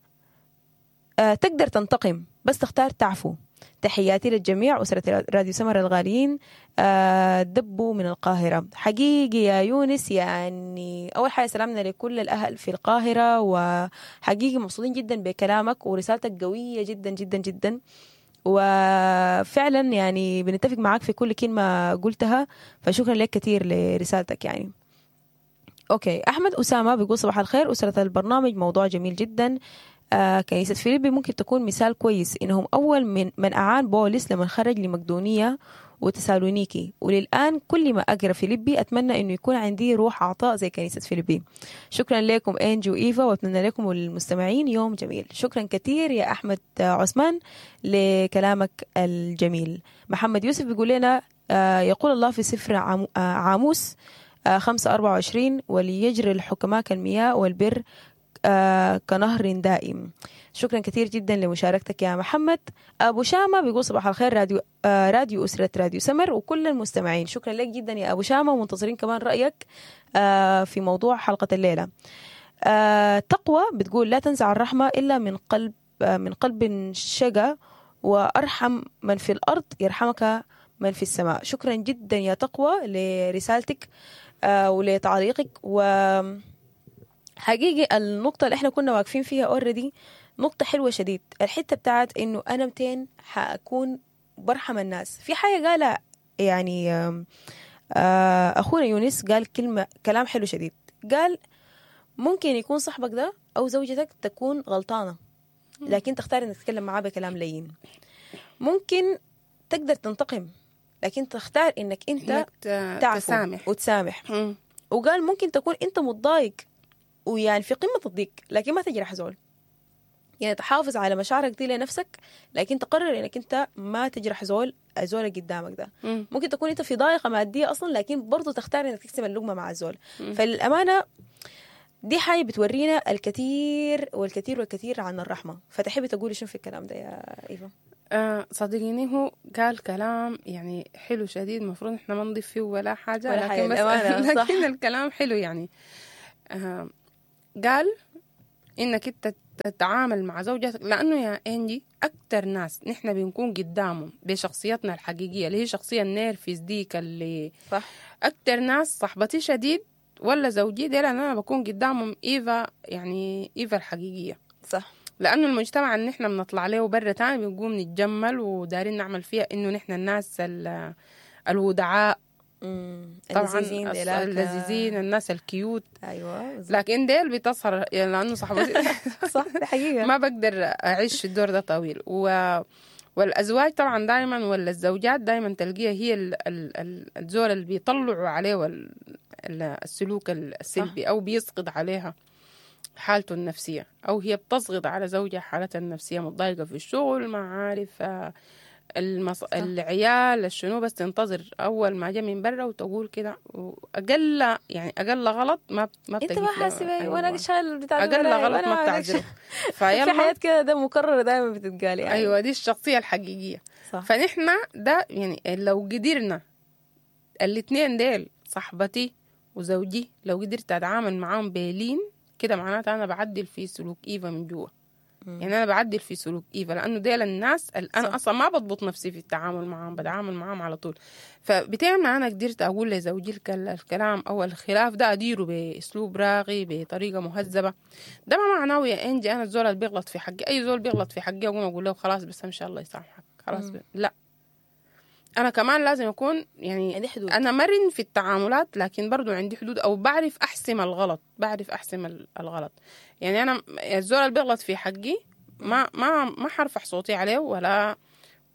آه، تقدر تنتقم بس تختار تعفو. تحياتي للجميع أسرة راديو سمر الغاليين، آه، دبوا من القاهرة. حقيقي يا يونس، يعني أول حاجة سلامنا لكل الأهل في القاهرة، وحقيقي مبسوطين جدا بكلامك ورسالتك قوية جدا جدا جدا، وفعلا يعني بنتفق معاك في كل كلمة قلتها، فشكرا لك كثير لرسالتك يعني. okay، أحمد أسامة بيقول صباح الخير أسرة البرنامج، موضوع جميل جدا. آه كنيسة فيليبي ممكن تكون مثال كويس، إنهم أول من من أعان بولس لما خرج لمقدونية وتسالونيكي، وللآن كل ما أقرأ فيليبي أتمنى إنه يكون عندي روح عطاء زي كنيسة فيليبي. شكرا لكم إنجي وإيفا، وأتمنى لكم وللمستمعين يوم جميل. شكرا كثير يا أحمد عثمان لكلامك الجميل. محمد يوسف بيقول لنا آه يقول الله في سفر عام- آه، عاموس آه، خمسة أربعة وعشرين وليجري الحكماء كالمياه والبر آه، كنهر دائم. شكرا كثير جدا لمشاركتك يا محمد. أبو شامة بيقول صباح الخير راديو آه، راديو أسرة راديو سمر وكل المستمعين. شكرا لك جدا يا أبو شامة، ومنتظرين كمان رأيك آه، في موضوع حلقة الليلة. آه، تقوى بتقول لا تنزع الرحمة إلا من قلب آه، من قلب شقى، وأرحم من في الأرض يرحمك من في السماء. شكرا جدا يا تقوى لرسالتك آه، ولتعليقك. و حقيقي النقطة اللي احنا كنا واقفين فيها already نقطة حلوة شديد، الحتة بتاعت انه انا متين حأكون برحم الناس. في حاجة قالها يعني آم، آه، اخونا يونس قال كلمة كلام حلو شديد، قال ممكن يكون صاحبك ده او زوجتك تكون غلطانة، لكن تختار انك تتكلم معاه بكلام لين. ممكن تقدر تنتقم، لكن تختار انك انت إنك ت- تعفو تسامح. وتسامح. مم. وقال ممكن تكون انت متضايق ويعني في قمة الضيق، لكن ما تجرح زول، يعني تحافظ على مشاعرك دي لنفسك، لكن تقرر انك انت ما تجرح زول الزول اللي قدامك ده. مم. ممكن تكون انت في ضائقة مادية اصلا، لكن برضو تختار انك تقسم اللقمة مع الزول. فالامانة دي حاجة بتورينا الكثير والكثير والكثير عن الرحمة. فتحبي تقولي شنو في الكلام ده يا ايفا؟ آه صدقيني هو قال كلام يعني حلو شديد، المفروض احنا ما نضيف فيه ولا حاجة، ولا حاجة، لكن بس للأمانة، صح. لكن الكلام حلو يعني. آه قال انك انت تتعامل مع زوجتك، لانه يا انجي اكتر ناس نحن بنكون قدامهم بشخصيتنا الحقيقية اللي هي شخصية النيرفز ديك، اللي صح اكتر ناس صاحبتي شديد ولا زوجي ديل انا بكون قدامهم ايفا، يعني ايفا الحقيقية. صح لانه المجتمع اللي نحن بنطلع له برا تاني بنقوم نتجمل ودارين نعمل فيها انه نحن الناس ال- الودعاء، مم. طبعا اللذيذين ديلاك. اللذيذين، الناس ال cute، ايوه بالظبط. لكن ديل بتظهر يعني لانه صاحبتي صح دي حقيقة. ما بقدر اعيش في الدور ده طويل. و والازواج طبعا دائما ولا الزوجات دائما تلقيها هي ال... ال... ال- الزول اللي بيطلعوا عليه ال... ال- السلوك السلبي، او بيسقط عليها حالته النفسية، او هي بتسقط على زوجها حالتها النفسية، متضايقة في الشغل، ما عارف آه، المص... العيال الشنو، بس تنتظر اول ما جا من برا وتقول كده، واقل يعني اقل غلط ما ما انت بتجي ما حاسه بي وانا أيوة. شايل بتاع اقل وراي، غلط وأنا ما عليك بتعذره. في فيلا حياة كده ده مكررة دائما بتتقال يعني. ايوه دي الشخصية الحقيقية. صح. فنحن ده يعني لو قدرنا الاثنين ديل صاحبتي وزوجي لو قدرت اتعامل معاهم بلين كده، معناته انا بعدل في سلوك ايفا من جوا. يعني انا بعدل في سلوك ايفا، لانه ديل الناس اللي انا صح. اصلا ما بضبط نفسي في التعامل معاهم، بتعامل معاهم على طول. فبتين ما انا قدرت اقول لزوجي الكل- الكلام او الخلاف ده اديره باسلوب راقي بطريقة مهذبة، ده ما معناه يا انجي انا الزول اللي بيغلط في حقي، اي زول بيغلط في حقي اقوم اقول له خلاص بس ان شاء الله يسامحك خلاص ب... لا، انا كمان لازم اكون يعني عندي حدود. انا مرن في التعاملات، لكن برضو عندي حدود، او بعرف احسم الغلط، بعرف احسم ال- الغلط. يعني انا الزول اللي بيغلط في حقي ما ما ما حرفع صوتي عليه، ولا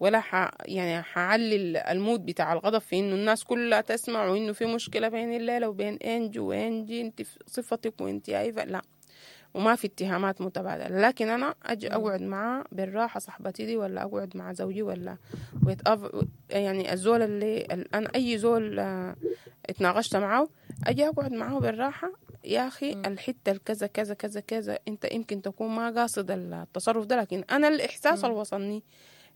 ولا ح يعني حعلي ال- ال mood بتاع الغضب في انه الناس كلها تسمع وانه في مشكلة بين الليلة وبين انجي، وانجي انت في صفتك وانت ايفا، لا، وما في اتهامات متبادلة. لكن انا اجي اقعد معاه بالراحة صاحبتي دي، ولا اقعد مع زوجي، ولا ويتأف... يعني الزول اللي ال- انا اي زول آه، اتناقشت معاه اجي اقعد معاه بالراحة، يا اخي الحتة الكذا كذا كذا كذا، انت يمكن تكون ما قاصد التصرف ده، لكن انا الاحساس اللي وصلني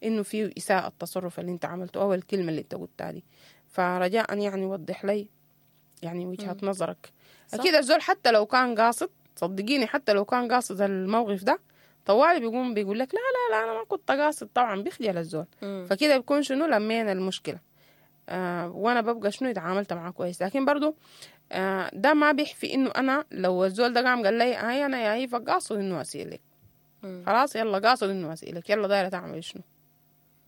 انه فيه اساءه التصرف اللي انت عملته او الكلمة اللي انت قلتها دي، فرجاء يعني وضح لي يعني وجهه نظرك. صح. اكيد الزول حتى لو كان قاصد، صدقيني حتى لو كان قاصد الموقف ده طوالي بيقوم بيقول لك لا لا لا انا ما كنت قاصد، طبعا بيخجل الزول. مم. فكده بيكون شنو لمينا المشكلة، آه وانا ببقى شنو اتعاملت معاه كويس. لكن برضو آه ده ما بيحفي انه انا لو الزول ده قام قال لي هاي انا يا ايفا قاصد انه اسيلك، مم. خلاص يلا قاصد انه اسيلك، يلا دايرة تعمل شنو،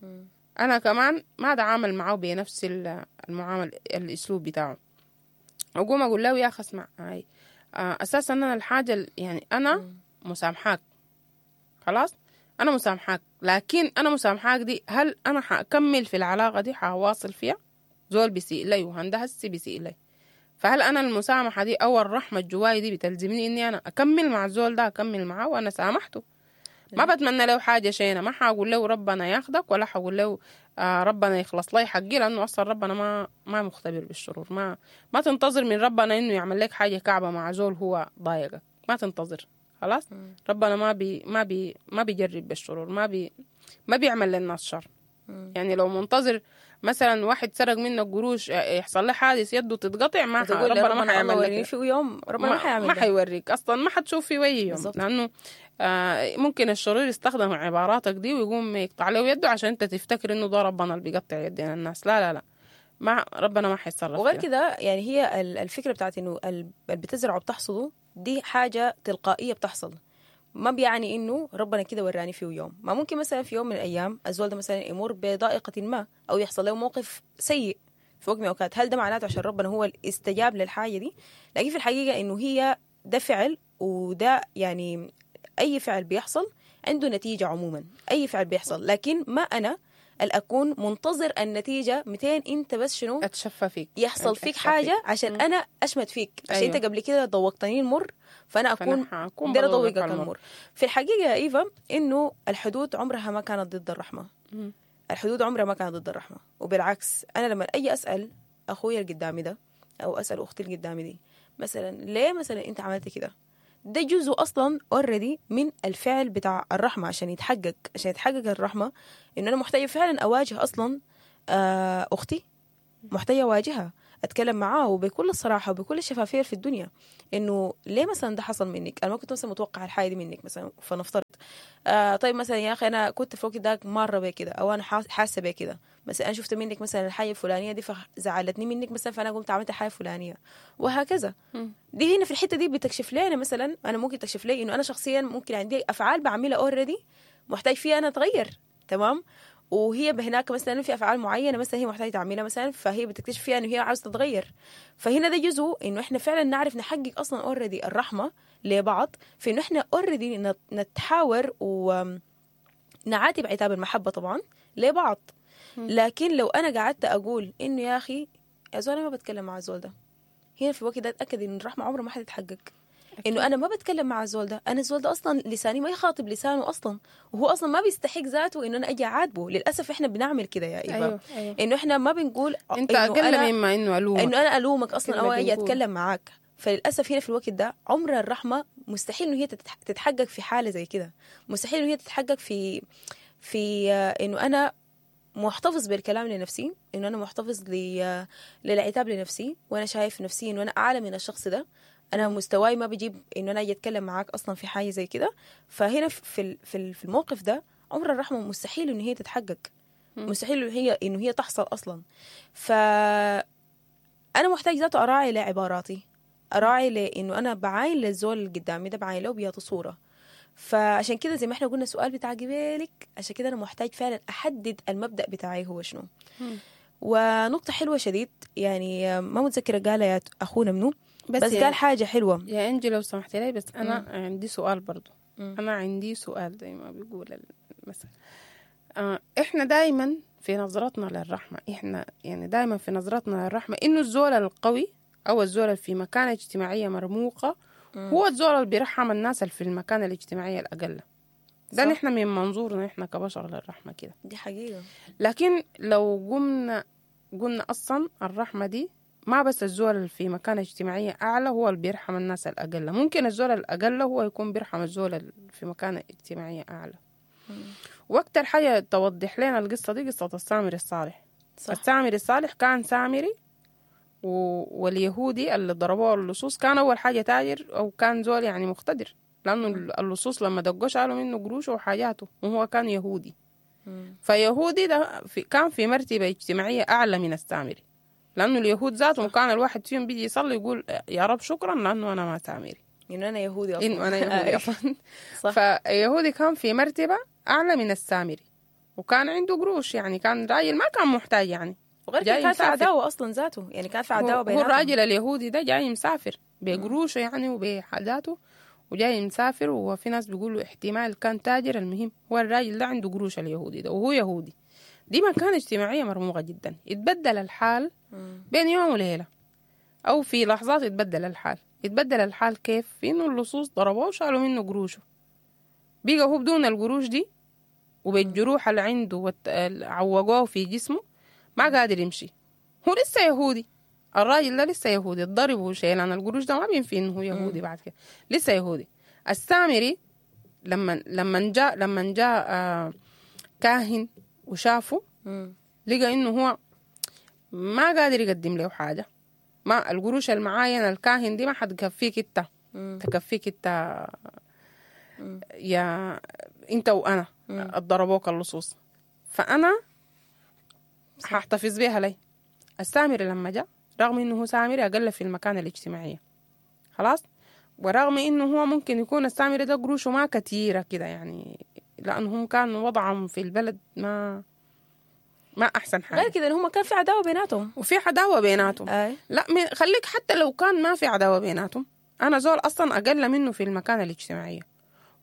مم. انا كمان ما اتعامل معاه بنفس ال- المعامل الاسلوب بتاعه، اقوم اقول له يا اخي اسمع هاي آه اساسا انا الحاجة ال- يعني انا مسامحاك، خلاص انا مسامحاك، لكن انا مسامحاك دي هل انا حاكمل في العلاقة دي، حواصل فيها؟ زول بيسيء لي وهنده هسي بيسيء لي، فهل انا المسامحة دي او الرحمة الجواي دي بتلزمني اني انا اكمل مع الزول ده، اكمل معاه وانا سامحته؟ ما بتمنى له حاجة شينه، ما حقول له ربنا ياخدك، ولا حقول له آه ربنا يخلص لي حقي، لانه اصلا ربنا ما ما مختبر بالشرور. ما ما تنتظر من ربنا انه يعمل لك حاجة كعبه مع زول هو ضايقك، ما تنتظر خلاص. ربنا ما بي ما بي ما بيجرب بالشرور، ما بي ما بيعمل للناس شر. يعني لو منتظر مثلا واحد سرق منك قروش يحصل له حادث يده تتقطع، ما ح- وتقول لي ربنا ما ربنا الله حيعمل لك وريني كده. في يوم ربنا ما حيعمل ما ده. حيوريك اصلا، ما حتشوف في وجه يوم، بالظبط. لانه آه ممكن الشرير يستخدم عباراتك دي ويقوم يقطع له يده عشان انت تفتكر انه ده ربنا اللي بيقطع يدين الناس. لا لا لا، ما ربنا ما حيتصرف وغير كده. كده يعني هي ال- الفكرة بتاعت انه ال- اللي بتزرعه بتحصده دي حاجة تلقائية بتحصل، ما بيعني انه ربنا كده وراني فيه يوم. ما ممكن مثلا في يوم من الايام الزول ده مثلا يمر بضائقه ما او يحصل له موقف سيء في وقت من الاوقات، هل ده معناته عشان ربنا هو اللي استجاب للحاجة دي؟ لكن في الحقيقة انه هي ده فعل، وده يعني اي فعل بيحصل عنده نتيجة عموما، اي فعل بيحصل، لكن ما انا اللي اكون منتظر النتيجة مئتين انت بس شنو اتشفى فيك، يحصل فيك أتشفى حاجة عشان انا اشمت فيك، عشان أيوة. انت قبل كده ضوقتني المر فانا اكون فأنا حكون دايرة بضوقك اضوقك المر. المر. في الحقيقة يا ايفا انه الحدود عمرها ما كانت ضد الرحمة. مم. الحدود عمرها ما كانت ضد الرحمة، وبالعكس انا لما اجي اسال اخويا اللي قدامي ده او اسال اختي اللي قدامي دي مثلا ليه مثلا انت عملت كده، ده جزء اصلا already من الفعل بتاع الرحمة عشان يتحقق، عشان يتحقق الرحمة انه انا محتاجه فعلا اواجه اصلا آه اختي، محتاجه اواجهها، اتكلم معاه وبكل الصراحة وبكل الشفافية في الدنيا، انه ليه مثلا ده حصل منك؟ انا ما كنت مثلا متوقع الحاجة دي منك مثلا، فنفترض آه طيب مثلا يا اخي انا كنت في الوقت داك ماره بكده، او انا حاسه بكده، مثلا انا شفت منك مثلا الحاجة الفلانية دي فزعلتني منك مثلا، فانا قمت عملت الحاجة الفلانية وهكذا. م. دي هنا في الحتة دي بتكشف لنا مثلا، انا ممكن تكشف لي انه انا شخصيا ممكن عندي افعال بعملها already محتاج فيها انا اتغير، تمام؟ وهي هناك مثلا في افعال معينة مثلا هي محتاجه تعملها مثلا، فهي بتكتشف فيها انه هي عاوزه تتغير. فهنا ده جزء انه احنا فعلا نعرف نحقق اصلا already الرحمة لبعض، في انه احنا already نتحاور ونعاتب عتاب المحبة طبعا لبعض. لكن لو انا قعدت اقول انه يا اخي يا زول انا ما بتكلم مع الزول ده، هنا في الوقت ده اتاكد ان الرحمة عمرها ما حتتحقق. انه انا ما بتكلم مع الزول ده، انا الزول ده اصلا لساني ما يخاطب لسانه اصلا، وهو اصلا ما بيستحق ذاته انه انا اجي اعاتبه. للاسف احنا بنعمل كده يا ايفا. أيوه، أيوه. انه احنا ما بنقول انت اقل مما انه الومك، انه انا الومك اصلا او اجي اتكلم معاك. فللاسف هنا في الوقت ده عمر الرحمة مستحيل انه هي تتحقق في حاله زي كده، مستحيل انه هي تتحقق في في انه انا محتفظ بالكلام لنفسي، انه انا محتفظ للعتاب لنفسي، وانا شايف نفسي انه انا اعلى من الشخص ده، انا مستواي ما بجيب انه انا اجي اتكلم معاك اصلا في حاجة زي كده. فهنا في في الموقف ده عمر الرحمة مستحيل انه هي تتحقق، مستحيل انه هي انه هي تحصل اصلا. ف انا محتاج ذاته اراعي لعباراتي، اراعي لانه انا بعاين للزول اللي قدامي ده، بعاين له بياته صوره. فعشان كده زي ما احنا قلنا السؤال بتاع جبالك، عشان كده انا محتاج فعلا احدد المبدا بتاعي هو شنو. ونقطة حلوة شديد يعني ما متذكرة قالها يا اخونا منو، بس, بس قال حاجة حلوة يا انجي لو سمحتي لي، بس انا مم. عندي سؤال برضو. مم. انا عندي سؤال زي ما بيقول المثل. آه احنا دايما في نظرتنا للرحمة، احنا يعني دايما في نظرتنا للرحمة انه الزول القوي او الزول اللي في مكانه اجتماعية مرموقة مم. هو الزول اللي بيرحم الناس اللي في المكانة الاجتماعية الاقل. ده نحن من منظورنا احنا كبشر للرحمة كده، دي حقيقة. لكن لو قمنا قلنا اصلا الرحمة دي ما بس الزول اللي في مكانة اجتماعية أعلى هو اللي بيرحم الناس الأقل، ممكن الزول الأقل هو يكون بيرحم الزول اللي في مكانة اجتماعية أعلى. وأكتر حاجة توضح لنا القصة دي قصة السامري الصالح. صح. السامري الصالح كان سامري و... واليهودي اللي ضربوه اللصوص كان أول حاجة تاجر أو كان زول يعني مقتدر، لأنه اللصوص لما دقوه شالوا منه قروشه وحاجاته، وهو كان يهودي. مم. فيهودي ده في... كان في مرتبة اجتماعية أعلى من السامري، لأنه اليهود ذاتهم كان الواحد فيهم بيجي يصلي يقول يا رب شكرا لأنه أنا ما سامري، إنه أنا يهودي أصلا، إنه أنا يهودي أصلا. فيهودي كان في مرتبة أعلى من السامري، وكان عنده قروش، يعني كان راجل ما كان محتاج يعني، وغير كده كان في عداوة أصلا ذاته، يعني كان في عداوة بيناتهم. هو الراجل اليهودي ده جاي مسافر بقروشه يعني وبحاجاته، وجاي مسافر، وفي ناس بيقولوا احتمال كان تاجر. المهم هو الراجل ده عنده قروش اليهودي ده، وهو يهودي. دي مكانة اجتماعية مرموقة جدا. يتبدل الحال بين يوم وليلة أو في لحظات، يتبدل الحال. يتبدل الحال كيف؟ في إنه اللصوص ضربوه وشالوا منه قروشه، بقى هو بدون القروش دي وبالجروح اللي عنده عوجوه في جسمه ما قادر يمشي. هو لسه يهودي، الراجل ده لسه يهودي، الضرب وشيلان القروش ده ما بينفي إنه هو يهودي بعد كده، لسه يهودي. السامري لما لما جاء لما جاء آه كاهن وشافه، لقى انه هو ما قادر يقدم له حاجة، ما القروش المعاينة الكاهن دي ما حتكفيك انت، تكفيك انت يا انت وانا ضربوك اللصوص، فانا هحتفظ بيها لي. السامري لما جاء رغم انه هو سامري اقل في المكانة الاجتماعية خلاص، ورغم انه هو ممكن يكون السامري ده قروشه ما كثيرة كده يعني، لأنهم كانوا وضعهم في البلد ما ما أحسن حاجة. غير كده إن هم كان في عداوة بيناتهم، وفي عداوة بيناتهم. أي. لا خليك حتى لو كان ما في عداوة بيناتهم، أنا زول أصلا أقل منه في المكانة الاجتماعية،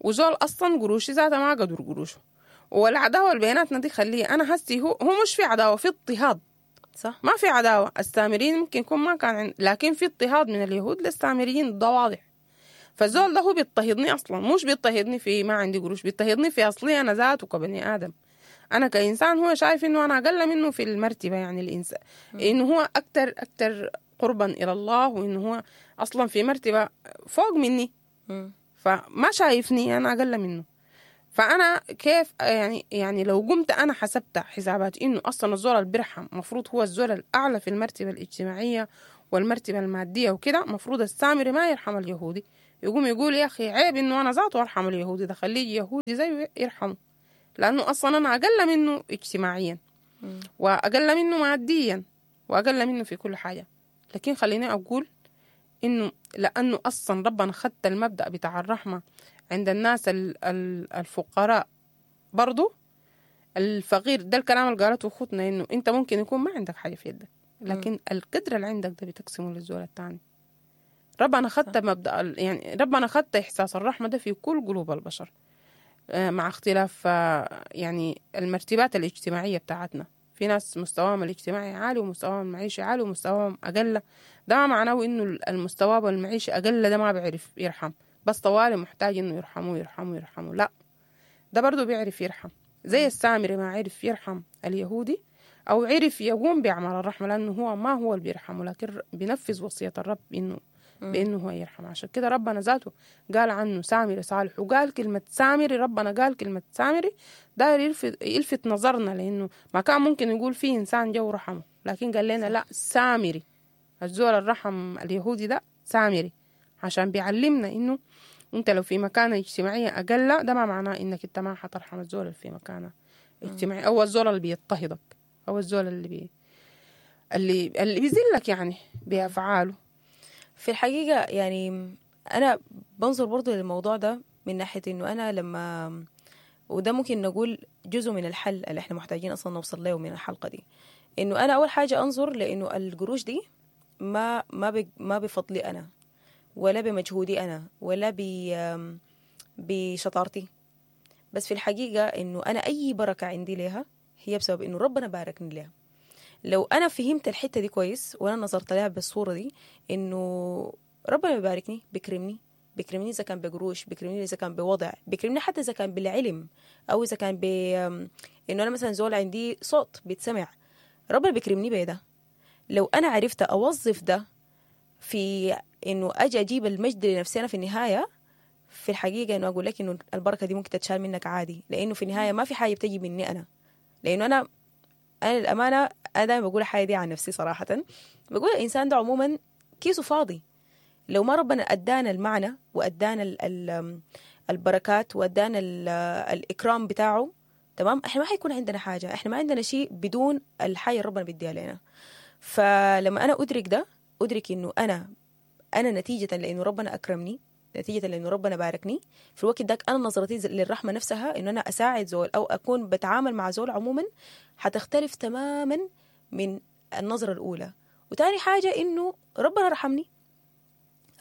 وزول أصلا قروشي ذاته ما قدر قروشه، والعداوة اللي بيناتنا دي خليه أنا هسي هو هو مش في عداوة، في اضطهاد. صح. ما في عداوة، السامريين ممكن يكون ما كان عند... لكن في اضطهاد من اليهود للسامريين، ده واضح. فالزول ده هو بيضطهدني أصلا، مش بيضطهدني في ما عندي قروش، بيضطهدني في أصلي أنا ذاته كبني آدم. أنا كإنسان هو شايف إنه أنا أقل منه في المرتبة، يعني الإنسان إنه هو أكتر أكتر قربا إلى الله، وإنه هو أصلا في مرتبة فوق مني. مم. فما شايفني انا اقل منه. فانا كيف يعني يعني لو قمت انا حسبت حسابات انه اصلا الزول اللي بيرحم المفروض هو الزول الاعلى في المرتبة الاجتماعية والمرتبة المادية وكده، مفروض السامري ما يرحم اليهودي، يقوم يقول يا اخي عيب انه انا ذاته ارحم اليهودي ده، خليه يهودي زيه يرحمه، لانه اصلا انا اقل منه اجتماعيا مم. واقل منه ماديا واقل منه في كل حاجة. لكن خليني اقول انه لانه اصلا ربنا خدت المبدا بتاع الرحمة عند الناس ال- ال- الفقراء برضو، الفقير ده الكلام اللي قالته اخوتنا، انه انت ممكن يكون ما عندك حاجة في يدك، لكن القدر اللي عندك ده بتقسمه للزول الثاني. ربنا خدت مبدا ال- يعني ربنا خدت احساس الرحمة ده في كل قلوب البشر، آه، مع اختلاف آه، يعني المرتبات الاجتماعية بتاعتنا. في ناس مستواهم الاجتماعي عالي ومستواهم المعيشي عالي ومستواهم اقل، ده ما معناه انه المستوى المعيشي اقل ده ما بيعرف يرحم، بس طوالي محتاج انه يرحمه يرحمه يرحمه، لا ده برضه بيعرف يرحم. زي السامري ما عرف يرحم اليهودي او عرف يقوم باعمال الرحمة، لانه هو ما هو اللي بيرحمه، لكن بينفذ وصية الرب انه بانه هو يرحم. عشان كده ربنا ذاته قال عنه سامري صالح، وقال كلمة سامري، ربنا قال كلمة سامري داير يلفت, يلفت نظرنا، لانه ما كان ممكن يقول فيه انسان جو رحمه، لكن قال لنا لا سامري، الزول الرحم اليهودي ده سامري، عشان بيعلمنا انه انت لو في مكانه اجتماعية اقل ده ما معناه انك انت ما حترحم الزول اللي في مكانه اجتماعي، او الزول اللي بيضطهدك، او الزول اللي بي اللي اللي بيذلك يعني بافعاله. في الحقيقة يعني أنا بنظر برضو للموضوع ده من ناحية إنه أنا لما، وده ممكن نقول جزء من الحل اللي إحنا محتاجين أصلا نوصل له من الحلقة دي، إنه أنا أول حاجة أنظر لإنه القروش دي ما ما ب- ما بفضلي أنا ولا بمجهودي أنا ولا ب بشطارتي، بس في الحقيقة إنه أنا أي بركة عندي لها هي بسبب إنه ربنا باركني لها. لو أنا فهمت الحتة دي كويس وأنا نظرت لها بالصورة دي، إنه ربنا بيباركني، بيكرمني، بيكرمني إذا كان بقروش، بيكرمني إذا كان بوضع، بيكرمني حتى إذا كان بالعلم، أو إذا كان ب إنه أنا مثلا زول عندي صوت بيتسمع، ربنا بيكرمني بده. لو أنا عرفت أوظف ده في إنه أجي أجيب المجد لنفسي أنا في النهاية، في الحقيقة إنه أقول لك إنه البركة دي ممكن تتشال منك عادي، لأنه في النهاية ما في حاجة بتجي مني أنا، لأنه أنا أنا للأمانة أنا دائما بقول الحاجة دي عن نفسي صراحة، بقول الإنسان ده عموما كيسه فاضي، لو ما ربنا أدانا المعنى وأدانا ال ال البركات وأدانا ال الإكرام بتاعه، تمام، إحنا ما حيكون عندنا حاجة، إحنا ما عندنا شيء بدون الحاجة اللي ربنا بيديها لنا. فلما أنا أدرك ده، أدرك إنه أنا أنا نتيجة لأنه ربنا أكرمني، نتيجة لأنه ربنا باركني، في الوقت داك أنا نظرتي للرحمة نفسها، إنه أنا أساعد زول أو أكون بتعامل مع زول عموما، حتختلف تماما من النظرة الأولى. وتاني حاجة إنه ربنا رحمني،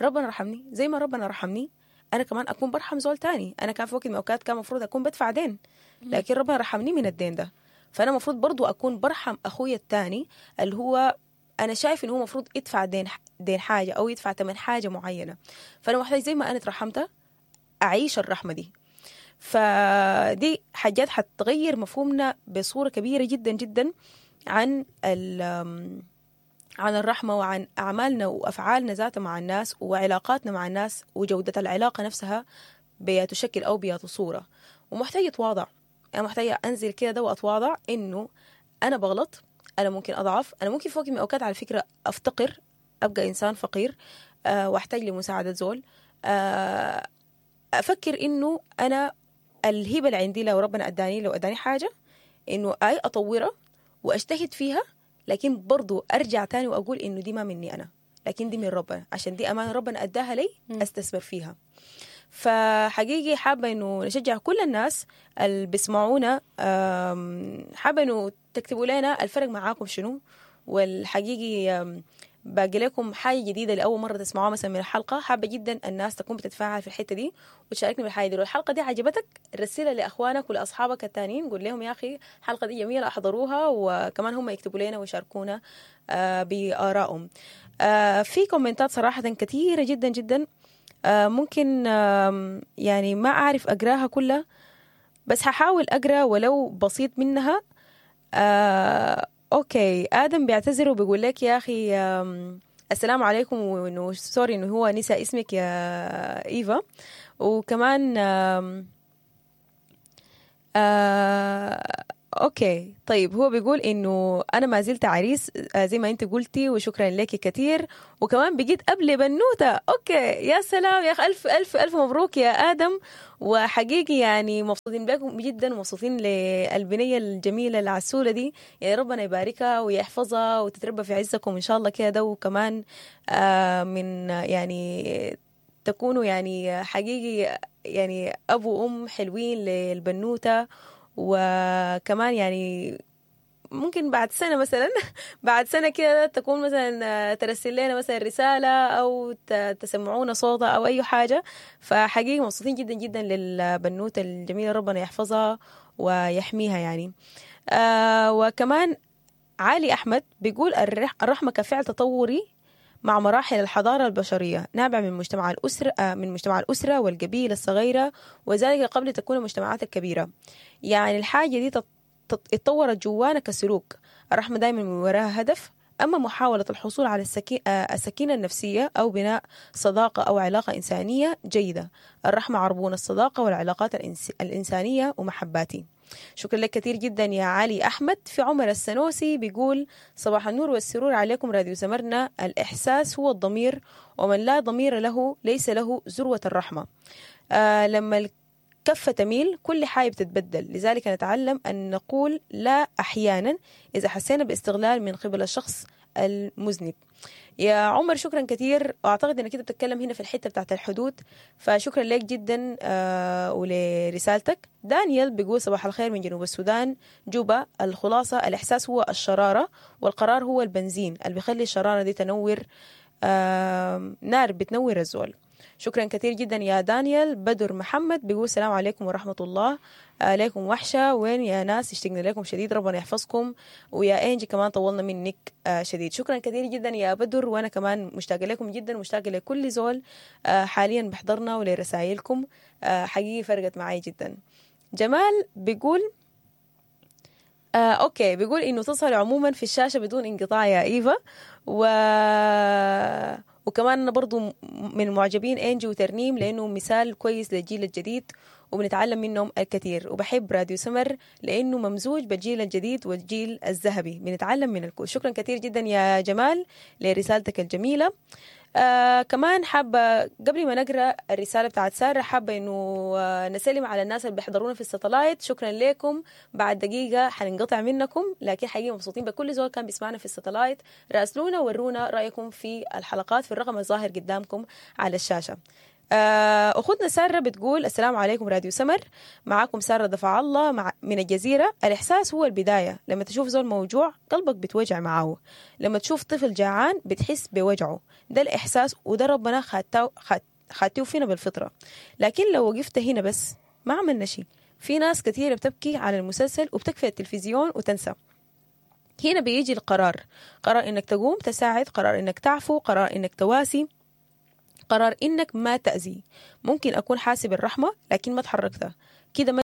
ربنا رحمني زي ما ربنا رحمني أنا كمان أكون برحم زول تاني. أنا كان في وقت من الأوقات كان مفروض أكون بدفع دين، لكن ربنا رحمني من الدين ده، فأنا مفروض برضو أكون برحم أخويا التاني اللي هو أنا شايف إنه هو مفروض يدفع دين دين حاجة أو يدفع ثمن حاجة معينة، فأنا محتاج زي ما أنا ترحمته أعيش الرحمة دي. فدي حاجات حتغير مفهومنا بصورة كبيرة جدا جدا عن عن الرحمة وعن أعمالنا وأفعالنا ذاتها مع الناس وعلاقاتنا مع الناس، وجودة العلاقة نفسها بتشكل أو بصورة. ومحتاجة أتواضع، أنا محتاجة أنزل كده ده وأتواضع إنه أنا بغلط، أنا ممكن أضعف، أنا ممكن في وقت من الأوقات على فكرة أفتقر، أبقى إنسان فقير أه وأحتاج لمساعدة زول، أه أفكر إنه أنا الهبة اللي عندي لو ربنا أداني، لو أداني حاجة إنه أي أطورها وأجتهد فيها، لكن برضو أرجع تاني وأقول إنه دي ما مني أنا، لكن دي من ربنا، عشان دي أمانة ربنا أداها لي أستثمر فيها. فحقيقي حابة إنه نشجع كل الناس اللي بيسمعونا، حابة إنه تكتبوا لنا الفرق معاكم شنو، والحقيقي باقي لكم حاجة جديدة لأول مرة تسمعوها مثلا من الحلقة. حابة جدا الناس تكون بتتفاعل في الحتة دي وتشاركني بالحاجة دي. لو الحلقة دي عجبتك رسلها لأخوانك ولأصحابك التانيين، قول لهم يا أخي الحلقة دي جميلة أحضروها، وكمان هم يكتبوا لنا ويشاركونا بآرائهم. في كومنتات صراحة كثيرة جدا جدا، ممكن يعني ما أعرف أقراها كلها، بس هحاول أقرأ ولو بسيط منها. آه، okay، آدم بيعتذر وبيقول لك يا أخي السلام عليكم، وإنه sorry إنه هو نسى اسمك يا إيفا. وكمان آم آه okay طيب، هو بيقول انه انا ما زلت عريس آه زي ما انت قلتي، وشكرا لك كثير، وكمان بقيت اب لبنوته. okay يا سلام يا اخي، الف الف الف مبروك يا ادم، وحقيقي يعني مبسوطين بكم جدا، ومبسوطين للبنيه الجميلة العسوله دي، يعني ربنا يباركها ويحفظها وتتربى في عزكم ان شاء الله كده، وكمان آه من يعني تكونوا يعني حقيقي يعني ابو وام حلوين للبنوته. وكمان يعني ممكن بعد سنة مثلا بعد سنة كده تكون مثلا ترسل لنا مثلا رسالة أو تسمعونا صوتها أو أي حاجة. فحقيقي مبسوطين جدا جدا للبنوتة الجميلة، ربنا يحفظها ويحميها يعني. آه وكمان علي أحمد بيقول الرحمة كفعل تطوري مع مراحل الحضارة البشرية، نابع من مجتمع الأسرة، من مجتمع الأسرة والقبيلة الصغيرة، وذلك قبل تكون المجتمعات الكبيرة. يعني الحاجة دي اتطورت جوانا كسلوك. الرحمة دائما من وراها هدف، أما محاولة الحصول على السكينة النفسية أو بناء صداقة أو علاقة إنسانية جيدة. الرحمة عربون الصداقة والعلاقات الإنسانية ومحباتي. شكرا لك كثير جدا يا علي أحمد. في عمر السنوسي بيقول صباح النور والسرور عليكم راديو سمرنا، الإحساس هو الضمير، ومن لا ضمير له ليس له ذروة الرحمة. آه لما الكفة تميل كل حاجة بتتبدل، لذلك نتعلم أن نقول لا أحيانا إذا حسينا باستغلال من قبل الشخص المذنب. يا عمر شكرا كثير، واعتقد انك كده بتتكلم هنا في الحتة بتاعت الحدود، فشكرا لك جدا آه ولرسالتك. دانيال بيقول صباح الخير من جنوب السودان جوبا، الخلاصة الاحساس هو الشرارة والقرار هو البنزين اللي بيخلي الشرارة دي تنور، آه نار بتنور الزول. شكرا كثير جدا يا دانيال. بدر محمد بيقول السلام عليكم ورحمة الله، عليكم وحشة، وين يا ناس، اشتقنا لكم شديد، ربنا يحفظكم. ويا انجي كمان طولنا منك شديد. شكرا كثير جدا يا بدر، وانا كمان مشتاقة لكم جدا، ومشتاقة لكل زول حاليا بحضرنا ولرسائلكم، حقيقي فرقت معي جدا. جمال بيقول آه، okay، بيقول انه تظهر عموما في الشاشة بدون انقطاع يا ايفا، و وكمان أنا برضو من معجبين إنجي وترنيم لأنه مثال كويس للجيل الجديد وبنتعلم منهم الكثير، وبحب راديو سمر لأنه ممزوج بالجيل الجديد والجيل الذهبي، بنتعلم من الكل. شكرا كثير جدا يا جمال لرسالتك الجميلة. آه كمان حابة قبل ما نقرأ الرسالة بتاعت سارة، حابة إنه نسلم على الناس اللي بيحضرونا في الستلايت. شكرا لكم، بعد دقيقة حننقطع منكم، لكن حقيقة مبسوطين بكل زول كان بيسمعنا في الستلايت. راسلونا ورونا رأيكم في الحلقات في الرقم الظاهر قدامكم على الشاشة. أخوتنا سارة بتقول السلام عليكم راديو سمر، معاكم سارة دفع الله مع من الجزيرة. الإحساس هو البداية، لما تشوف زول موجوع قلبك بتوجع معاه، لما تشوف طفل جعان بتحس بوجعه، ده الإحساس، وده ربنا خاتيه فينا بالفطرة. لكن لو وقفت هنا بس ما عملنا شيء. في ناس كثيرة بتبكي على المسلسل وبتكفي التلفزيون وتنسى. هنا بيجي القرار، قرار إنك تقوم تساعد، قرار إنك تعفو، قرار إنك تواسي، قرار إنك ما تأذي. ممكن أكون حاسب الرحمة لكن ما تحركتها كده، ما